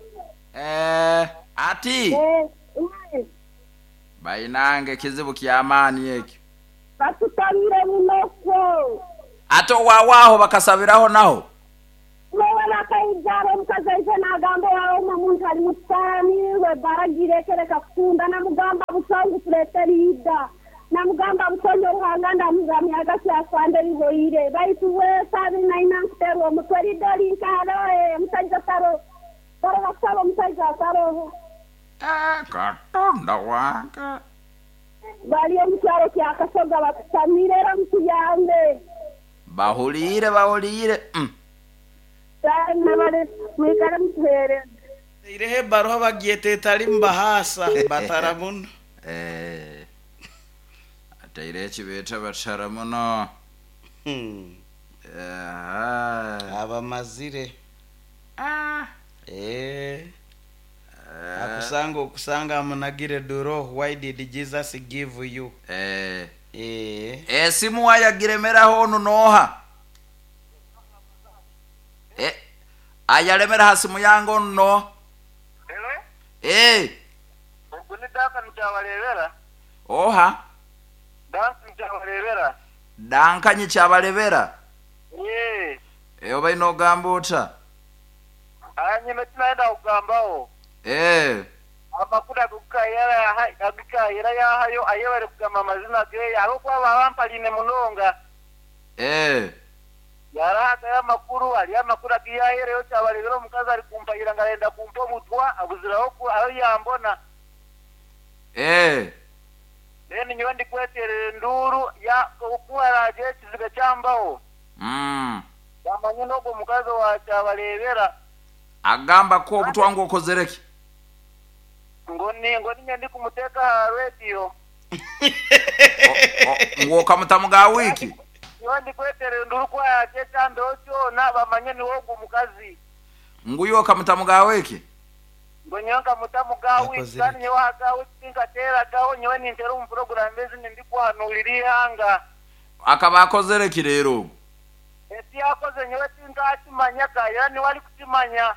[SPEAKER 2] Eh, ati
[SPEAKER 4] Eh, eh,
[SPEAKER 2] bainange kizibu kyamaani ekyo.
[SPEAKER 4] Batutamire muno kwe. Ego.
[SPEAKER 2] Ate owaawo bakasabiraho naho.
[SPEAKER 4] Wewe bakaijara omukazi aije nagamba wawe omuntu ali musani we baragirekereka kutunda namugamba busangu tuletera ida. Namugamba busonyo ruhanga ndamugamya agasi afande bihoire. Baitu we sabi naina nkuterwa omutwe ridoli nkaro omusajja taro. Taro basaba omusajja taro.
[SPEAKER 2] Ah, Katonda wange.
[SPEAKER 4] Bali omukyalo kya Kasoga bakusamire era mutuyambe.
[SPEAKER 2] Bahuliire bahuliire. Mm.
[SPEAKER 4] Nabale mwikale mutuhere.
[SPEAKER 1] Irehe baruha bagyeta etali mbahasa batara muno.
[SPEAKER 2] Eh. Ataire ekibeeta batara muno.
[SPEAKER 1] Hmm.
[SPEAKER 2] Aha.
[SPEAKER 1] Abamazire.
[SPEAKER 2] Ah.
[SPEAKER 1] Eh. Akusanga okusanga amunagire duro why did Jesus give you?
[SPEAKER 2] Eh.
[SPEAKER 1] Eh.
[SPEAKER 2] Esimu ayagiremeraho onu noha. Eh. Ayalemera hasimu yange onu no.
[SPEAKER 3] Hello?
[SPEAKER 2] Eh.
[SPEAKER 3] Ogwo ni Duncan Kyabalebera.
[SPEAKER 2] Oha.
[SPEAKER 3] Duncan Kyabalebera.
[SPEAKER 2] Duncan Kyabalebera.
[SPEAKER 3] Eh.
[SPEAKER 2] Eyo balina ogamba ota?
[SPEAKER 3] Anyime tunaenda kugambaho.
[SPEAKER 2] Eh.
[SPEAKER 3] Amakuru agukayera agukayera yahayo ayebare kugamba amazina ge arokuba babampaline munonga.
[SPEAKER 2] Eh.
[SPEAKER 3] Yarahaka amakuru ali amakuru agiyahereyo Kyabalebera omukazi ari kumpayira ngarenda kumpa obutwa abuziraho ku aho yambona.
[SPEAKER 2] Eh.
[SPEAKER 3] Then nyowe ndi kweterera enduru ya okuwaraje ekizibe kyambaho.
[SPEAKER 2] Mm.
[SPEAKER 3] Bamanye n'ogwo mukazi wa Kyabalebera.
[SPEAKER 2] Agamba ko obutwa ng'okozereki?
[SPEAKER 3] Ngoni ngoni ndi kumuteka ha radio.
[SPEAKER 2] Ng'okamutamu ga wiki?
[SPEAKER 3] Nyowe ndi kweterera enduru kwa yaje kyambeho kyona bamanye ni wogwo mukazi.
[SPEAKER 2] Nguyo okamutamu ga wiki?
[SPEAKER 3] Ngo nyowe nkamutamu ga wiki kandi nyowe aga wiki tinkateragaho nyowe nintera omu program ezi ndikuhanurira ihanga.
[SPEAKER 2] Akaba akozereki leero?
[SPEAKER 3] Eki yakoze nyowe tinkakimanya kayira niwe arikukimanya.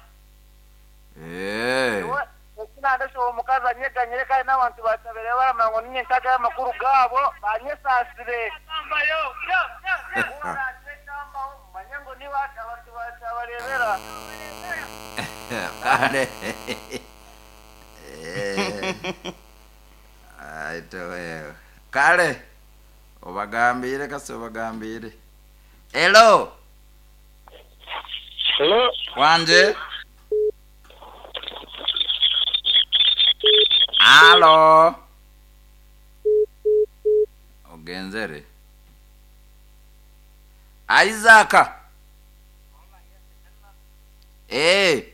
[SPEAKER 2] Eh.
[SPEAKER 3] Ekinandesha omukazi anyeganyire kandi n'abantu batabere baramanya ngo ninye ntagayo amakuru gaabo banyesasire. Manye ngo niba abantu batabarebera.
[SPEAKER 2] Kale. Eh. Aito wewe. Kale. Obagambire kasi obagambire. Hello.
[SPEAKER 3] Hello.
[SPEAKER 2] Wanje. Halo. Ogenzere. Isaac. Eh.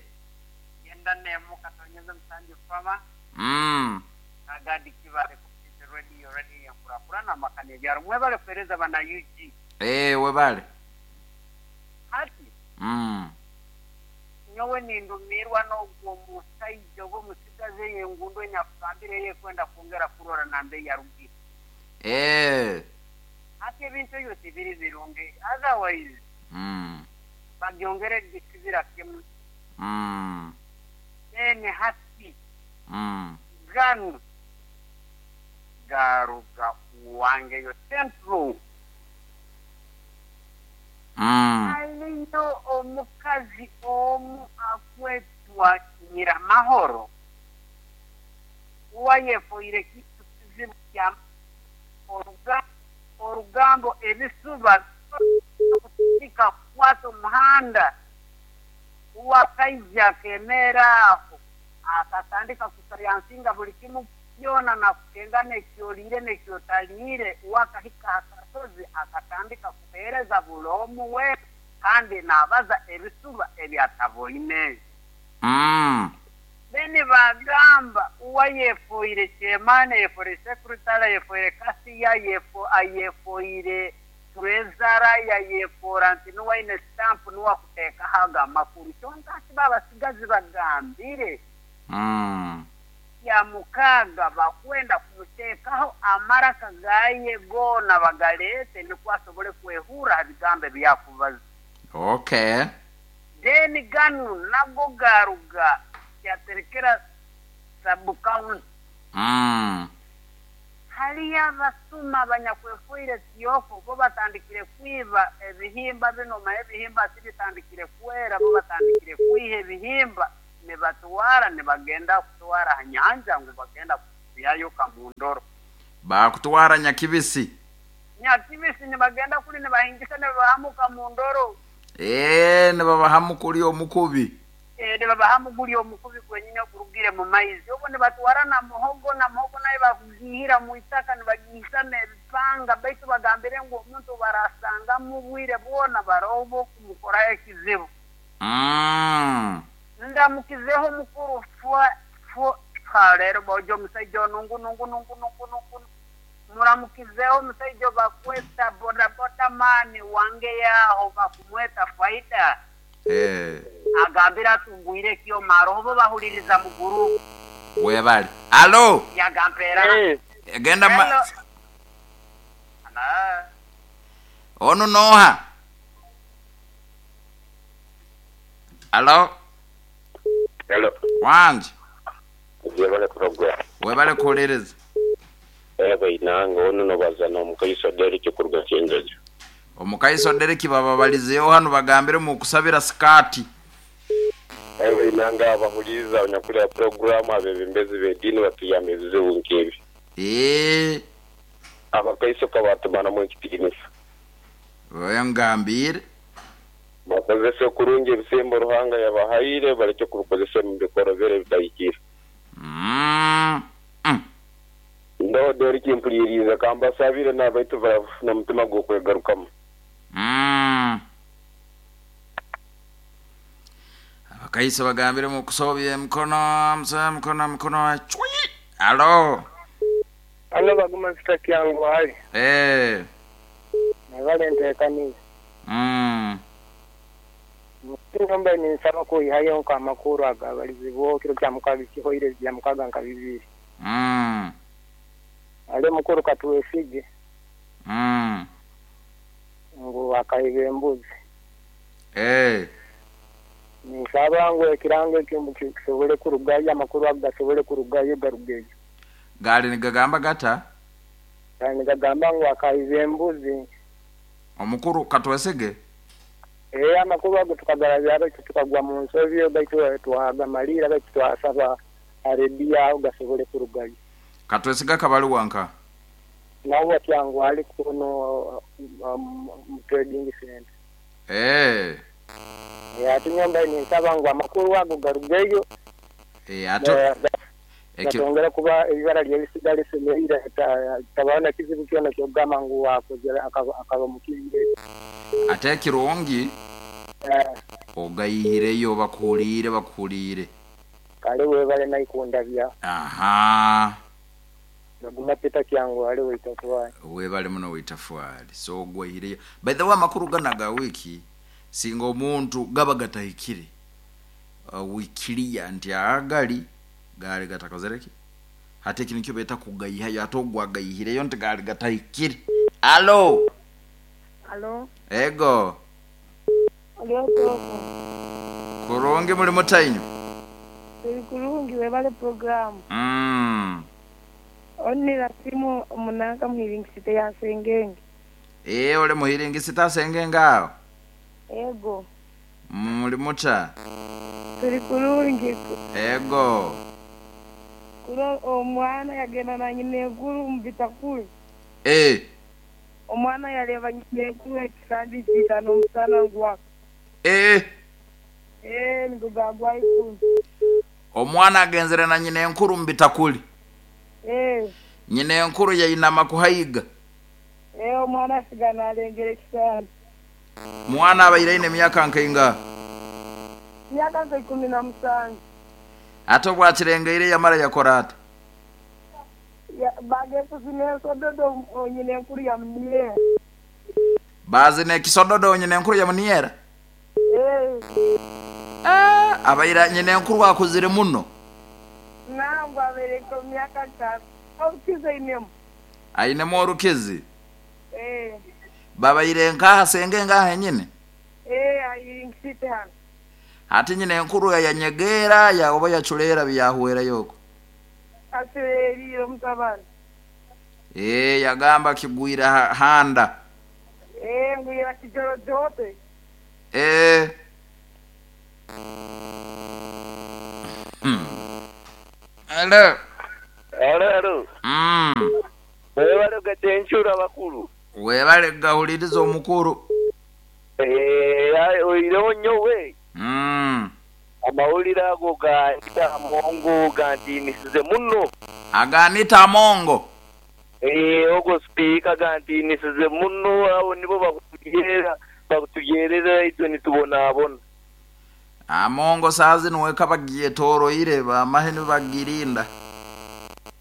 [SPEAKER 3] Yenda nemu katonyeza msanju fama.
[SPEAKER 2] Mm.
[SPEAKER 3] Agadi kibale kupita radio radio ya kurakura na makane byaro mwebale kuhereza bana U G.
[SPEAKER 2] Eh, webale.
[SPEAKER 3] Hati.
[SPEAKER 2] Mm.
[SPEAKER 3] Nyowe nindumirwa n'ogwo musajja oba omusigazi engundo enyakugambire ye kwenda kwongera kurora nambe yarugire.
[SPEAKER 2] Eh.
[SPEAKER 3] Hati ebintu ebyo tibiri birungi. Otherwise.
[SPEAKER 2] Mm.
[SPEAKER 3] Bagyongere gisibira kimu.
[SPEAKER 2] Mm.
[SPEAKER 3] Ene hati.
[SPEAKER 2] Mm.
[SPEAKER 3] Ganu garuga wange yo central.
[SPEAKER 2] Mm.
[SPEAKER 3] Aliyo omukazi omu akwetwa Nyiramahoro uwayefoire kitu kizibu kya oruga orugambo ebisuba bikakwata omuhanda uwakaija akemera aho akatandika kusayansinga buli kimu kyona na kukenga nekyoliire nekyotaliire uwakahika akasozi akatandika kuheereza buli omu we kandi nabaza ebisuba ebyataboine.
[SPEAKER 2] Mm.
[SPEAKER 3] Beni bagamba uwayefoire chairman yefoire secretary yefoire kasiya yefo ayefoire trezara yayefora nti nuwaine stamp nuwakuteeka haga amakuru kyonka ati babasigazi bagambire.
[SPEAKER 2] Mm.
[SPEAKER 3] Ya mukaga bakwenda kumuteekaho amaraka gaye gona bagalete nikwo asobole kwehura ebigambo ebyakubaza.
[SPEAKER 2] Okay.
[SPEAKER 3] Then ganu nago garuga yaterekera sub county.
[SPEAKER 2] Mm.
[SPEAKER 3] Hali Haliyo abasuma abanyakwefuire tiyoko bo batandikire kwiba ebihimba bino, ma ebihimba sibitandikire kwera, bo batandikire kwiha ebihimba nibatwara, nibagenda kutwara ha nyanja ngu bagenda kuyayo kamundoro.
[SPEAKER 2] Bakutwara Nyakibisi.
[SPEAKER 3] Nyakibisi nibagenda kuli nibahingisa nibahamuka mundoro.
[SPEAKER 2] Eh, nibabahamu kuli omukubi.
[SPEAKER 3] Eh, nibabahamu guli omukubi kwenyine okurugire mu maizi. Obo nibatwara na muhogo, na muhogo naye bakugihira mu itaka nibagihisa n'ebipanga, baitu bagambire ngu omuntu barasanga mu bwire bwona barobo kumukoraho ekizibu.
[SPEAKER 2] Mm.
[SPEAKER 3] Ndamukizeho mukuru fwa fwa rero bojo omusajja nungu nungu nungu nungu nungu. Muramukizeho omusajja bakweta boda boda mani wange yaho bakumweta faida.
[SPEAKER 2] Eh.
[SPEAKER 3] Agambira atungwire kyo maroho bahuliriza muguru.
[SPEAKER 2] Webali. Alo.
[SPEAKER 3] Yagampera.
[SPEAKER 5] Hey.
[SPEAKER 2] Genda ma. Ana. Ono noha. Alo.
[SPEAKER 5] Hello.
[SPEAKER 2] Wanje.
[SPEAKER 5] Webale program.
[SPEAKER 2] Webale kulereza.
[SPEAKER 5] Ego inanga ono nobaza omukaiso Derek kuruga Kyenjojo.
[SPEAKER 2] Omukaiso Derek baba balizeyo hano bagambire mu kusabira skati.
[SPEAKER 5] Ego inanga abahuliza onyakulya program abebembezi b'edini batuyamba ebizibu nkebi.
[SPEAKER 2] Eh.
[SPEAKER 5] Abakaiso kabatumana mu ekitiinisa.
[SPEAKER 2] Oyo ngambire.
[SPEAKER 5] Bakozese kurungi ebisembo Ruhanga yabahaire baleke kubikozesa mu bikorobere bitahikire.
[SPEAKER 2] Mm. Mm.
[SPEAKER 5] Ndo Derek mpuliriza kambasabire n'abaitu na mutima gw'okwegarukamu.
[SPEAKER 2] Mm. Abakaiso bagambire mu kusobya emikono, msa mikono mikono chwi. Alo.
[SPEAKER 6] Alo baguma sitaki yangu hali.
[SPEAKER 2] Eh.
[SPEAKER 6] Nabale ntekaniza.
[SPEAKER 2] Mm.
[SPEAKER 6] Ngomba ninsaba kuyihayo nkamakuru agabalizibwo kiro kya mukaga kihoire bya mukaga nka bibiri.
[SPEAKER 2] Mm.
[SPEAKER 6] Ale mukuru katuwesige.
[SPEAKER 2] Mm.
[SPEAKER 6] Ngo akaibe embuzi.
[SPEAKER 2] Eh.
[SPEAKER 6] Ninsaba ngo ekirango kisobole kurugayo amakuru agasobole kurugayo garugeyo.
[SPEAKER 2] Gali nigagamba gata?
[SPEAKER 6] Gali nigagamba ngo akaibe embuzi.
[SPEAKER 2] Omukuru katuwesige?
[SPEAKER 6] Eh, amakuru ago tukagarabya tukagwa mu nsobi baitu twagamalira baitu twasaba Arabia gasobole kurugayo.
[SPEAKER 2] Katwesiga kabali wanka.
[SPEAKER 6] Nawo kyangu ali kuno um, trading center.
[SPEAKER 2] Eh.
[SPEAKER 6] Eh, atinyomba ni nsaba ngo amakuru ago garugeyo.
[SPEAKER 2] Eh, ato
[SPEAKER 6] ekyo kuba ebibara lye lisigale tabana kizibu kyona kyogamba ngu wakozera akaba mukizire.
[SPEAKER 2] Ate kirungi
[SPEAKER 6] eh
[SPEAKER 2] ogayireyo bakuliire bakuliire.
[SPEAKER 6] Kale webale naikunda bya.
[SPEAKER 2] Aha.
[SPEAKER 6] Naguma peta kyangu ale witafuali.
[SPEAKER 2] Webale muno witafuali. So gwayireyo. By the way amakuru ganaga wiki singa omuntu gaba gatahikire. Uh, wikilia nti agali gali gatakozereki. Hate kino kyo beta kugayihayo atogwa gayihireyo nti gali gatahikire. Alo.
[SPEAKER 7] Alo.
[SPEAKER 2] Ego.
[SPEAKER 7] Alo toko.
[SPEAKER 2] Kurungi muri mutayinyo.
[SPEAKER 7] Turi kurungi webale program.
[SPEAKER 2] Mm.
[SPEAKER 7] Onira simu munanga muhiringisite ya sengenge.
[SPEAKER 2] Eh ole muhiringisite sengenge aho.
[SPEAKER 7] Ego.
[SPEAKER 2] Muri muta.
[SPEAKER 7] Turi kurungi.
[SPEAKER 2] Ego.
[SPEAKER 7] Kuro omwana yagenda na nyine nkuru mubitakuri.
[SPEAKER 2] Eh.
[SPEAKER 7] Omwana yareba nyine nkuru ekisandi kitano omusana ngwaka.
[SPEAKER 2] Eh.
[SPEAKER 7] Eh ngugagwa ikuru.
[SPEAKER 2] Omwana agenzere na nyine nkuru mubitakuri.
[SPEAKER 7] Eh.
[SPEAKER 2] Nyine nkuru yayinama kuhayiga.
[SPEAKER 7] Eh omwana asigana alengere ekisandi.
[SPEAKER 2] Mwana abaire ine myaka nkainga.
[SPEAKER 7] Myaka nka ikumi na musanju.
[SPEAKER 2] Ate bwakirengeire yamara yakora ata?
[SPEAKER 7] Ya bage kuzine sododo nyine nkuru ya mniera.
[SPEAKER 2] Bazine kisododo nyine nkuru ya mniera?
[SPEAKER 7] Eh.
[SPEAKER 2] Ah, abaira nyine nkuru akuzire muno.
[SPEAKER 7] Nangwa abereko myaka tatu. Orukize inemu.
[SPEAKER 2] Ainemu orukizi?
[SPEAKER 7] Eh.
[SPEAKER 2] Babaire nkaha senge ngaha nyine?
[SPEAKER 7] Eh, ayiringite hano.
[SPEAKER 2] Ati nyine nkuru ya nyegera ya oba ya chulera byahuera yoko.
[SPEAKER 7] Asereriro mutabani.
[SPEAKER 2] Eh, yagamba kigwira ha- handa.
[SPEAKER 7] Eh, ngwira kijorojote.
[SPEAKER 2] Eh. Hmm. Hello.
[SPEAKER 5] Alo, alo.
[SPEAKER 2] Mm.
[SPEAKER 5] Webale gatencura abakulu.
[SPEAKER 2] Webale gahuliriza omukuru.
[SPEAKER 5] Eh, oireho nyowe.
[SPEAKER 2] Mm.
[SPEAKER 5] Amawulire ago ga Mongo gantiinisize muno.
[SPEAKER 2] Aganita Amongo.
[SPEAKER 5] Eh, ogo sipiika gantiinisize muno, abo nibo bakutugerera, bakutugerera itwe nitubonaabona.
[SPEAKER 2] Amongo saazi niweka bagyetoroire bamahe nibagirinda.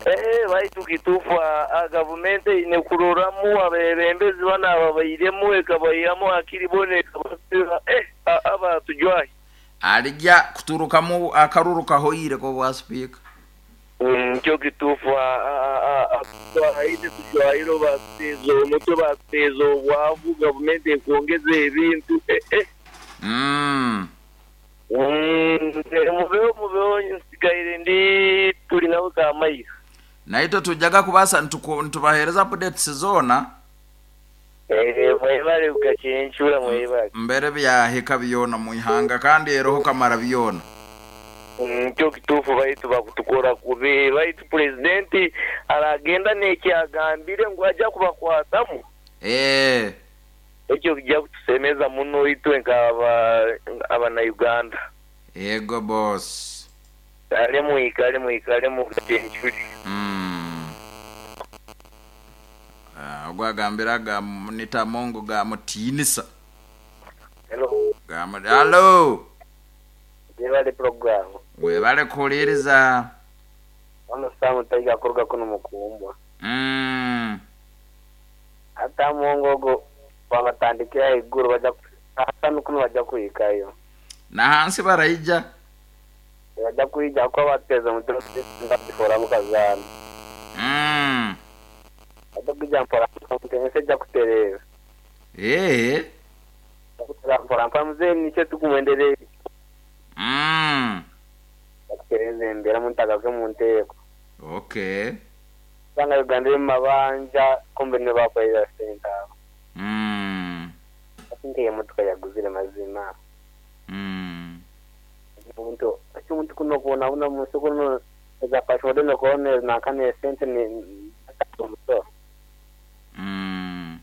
[SPEAKER 5] Eh, baitu kituufu a gavumenti eine kuroramu abebembezi bano ababairemu ekabaihiramu hakiri bona ekabasira eh, abatujwahi.
[SPEAKER 2] Alijja kuturukamu akaruru kahoire ko bwa sipiika.
[SPEAKER 5] Nikyo kituufu ite tujwahire batuteeza omutwe batuteeza obwavu gavumenti ekwongeza ebintu eh, eh.
[SPEAKER 2] Mm.
[SPEAKER 5] Mm, mubeho mubeho nsigaire ndi tuli nawe kamaira.
[SPEAKER 2] Naitwe tujaga kubasa nitubahereza updates zona.
[SPEAKER 5] Eh, mwebale ukachencura mwebale.
[SPEAKER 2] Mbere byahika byona muihanga kandi eroho kamara byona.
[SPEAKER 5] Nikyo kituufu baitu bakutukora kubi baitu presidenti aragenda nekyagambire ngu ajja kubakwatamu.
[SPEAKER 2] Eh.
[SPEAKER 5] Ekyo kijja kutusemeza muno itwe nk'aba abana Uganda.
[SPEAKER 2] Ego boss.
[SPEAKER 5] Kale mwikale mwikale mukachencuri.
[SPEAKER 2] Mm. Ah, ogwagambira ga Nita Mongo ga mutiinisa.
[SPEAKER 6] Hello.
[SPEAKER 2] Ga mu- Hello.
[SPEAKER 6] Webale program.
[SPEAKER 2] Webale kuwuliriza.
[SPEAKER 6] Ono Samu Taiga kuruga kuno mukumbwa.
[SPEAKER 2] Mm.
[SPEAKER 6] Ata Mongo ogo babatandikira iguru bajja hasa kuno bajja kuyikayo.
[SPEAKER 2] Na hansi baraija.
[SPEAKER 6] Bajja kuyija kuba bateza omutwe bifora mukazaana.
[SPEAKER 2] Mm.
[SPEAKER 6] Bajja kujja mpora ensi ejja kutereera.
[SPEAKER 2] Eh.
[SPEAKER 6] Mpora mpora mpora muzeeyi nikyo tukumwendereye.
[SPEAKER 2] Mm.
[SPEAKER 6] Bakutereeza embeera muntagaruke mu nteeko.
[SPEAKER 2] Okay.
[SPEAKER 6] Usanga Uganda eri mu mabanja kumbe nibo bakorera sente abo.
[SPEAKER 2] Mm.
[SPEAKER 6] Ati nk'emotoka yaguzire mazima.
[SPEAKER 2] Mm.
[SPEAKER 6] Omuntu ati omuntu kuno kubonabona mu nsi kuno eza passport nokuona nankana esente ni omusoro.
[SPEAKER 2] Mm.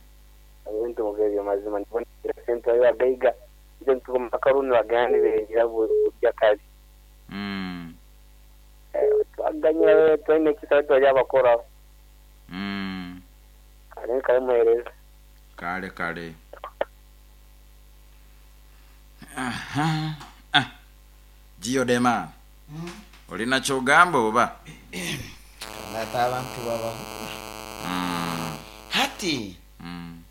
[SPEAKER 6] Ebintu nk'ebyo mazima ndibona sente bari bagaiga ibyo ntuko makaruni bagenda nibegira burya kabi.
[SPEAKER 2] Mm.
[SPEAKER 6] Twaganyira twine ekisa twajya bakoraho.
[SPEAKER 2] Mm.
[SPEAKER 6] Kale kale muhereza.
[SPEAKER 2] Kale kale. Aha. Ah. Giodema.
[SPEAKER 1] Mm.
[SPEAKER 2] Olina kyogamba oba?
[SPEAKER 1] Ate abantu babaho.
[SPEAKER 2] Mm.
[SPEAKER 1] Hati
[SPEAKER 2] Mm.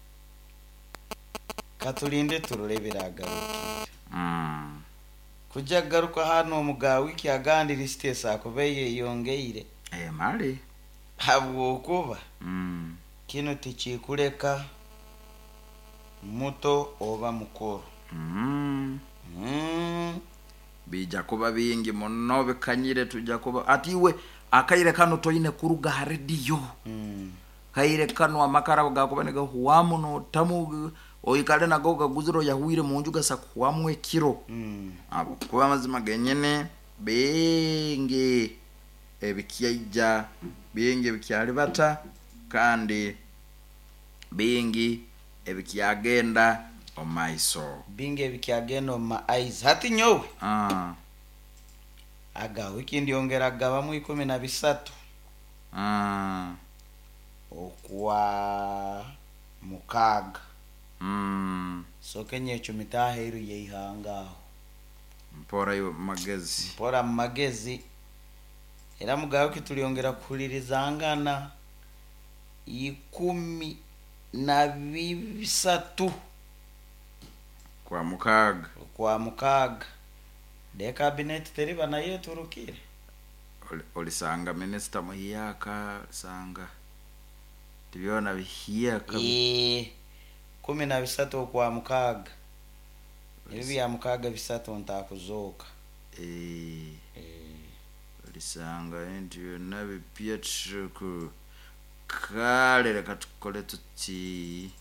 [SPEAKER 1] katulinde turore ebiragarukire.
[SPEAKER 2] Mm.
[SPEAKER 1] Kujja kugaruka hano omuga wiki agandi lisiti akuba yeyongeire.
[SPEAKER 2] Eh, mali.
[SPEAKER 1] Habwokuba
[SPEAKER 2] Mm.
[SPEAKER 1] kino tikikuleka muto oba mukuru.
[SPEAKER 2] Mm.
[SPEAKER 1] Mm.
[SPEAKER 2] Bija kuba bingi muno bikanyire tujja kuba ati iwe akaire kano toine kuruga ha radio.
[SPEAKER 1] Mm.
[SPEAKER 2] Kaire kano amakara gakuba nigahuwamu notamu oikale nago gaguziro yahuire munju gasa kuwamu ekiro.
[SPEAKER 1] Mm.
[SPEAKER 2] Abo kuba amazima genyene bingi ebikyaija bingi ebikyalibata kandi bingi ebikyagenda omaiso.
[SPEAKER 1] Bingi ebikyagenda omu eyes. Hati nyowe
[SPEAKER 2] Ah.
[SPEAKER 1] aga wiki ndyongera gabamu ikumi na bisatu.
[SPEAKER 2] Ah.
[SPEAKER 1] Okwa mukaaga.
[SPEAKER 2] Mm.
[SPEAKER 1] Soke nyecumita aheeru y'eihanga aho.
[SPEAKER 2] Mpora yo magezi.
[SPEAKER 1] Mpora mu magezi. Era mugawe kitulyongera kuhulirizangana ikumi na bisatu
[SPEAKER 2] Kwa mukaaga.
[SPEAKER 1] Kwa mukaaga. De cabinet teriba naye turukire.
[SPEAKER 2] Oli- Olisanga minisita muhiyaka olisanga tibyona bihiyaka.
[SPEAKER 1] Eh, kumi na bisatu okwa mukaaga. Ebi bya mukaaga bisatu ntakuzooka.
[SPEAKER 2] Eh.
[SPEAKER 1] Eh.
[SPEAKER 2] Olisanga ebintu byonna bipya tuku. Kale, reka tukole tuti.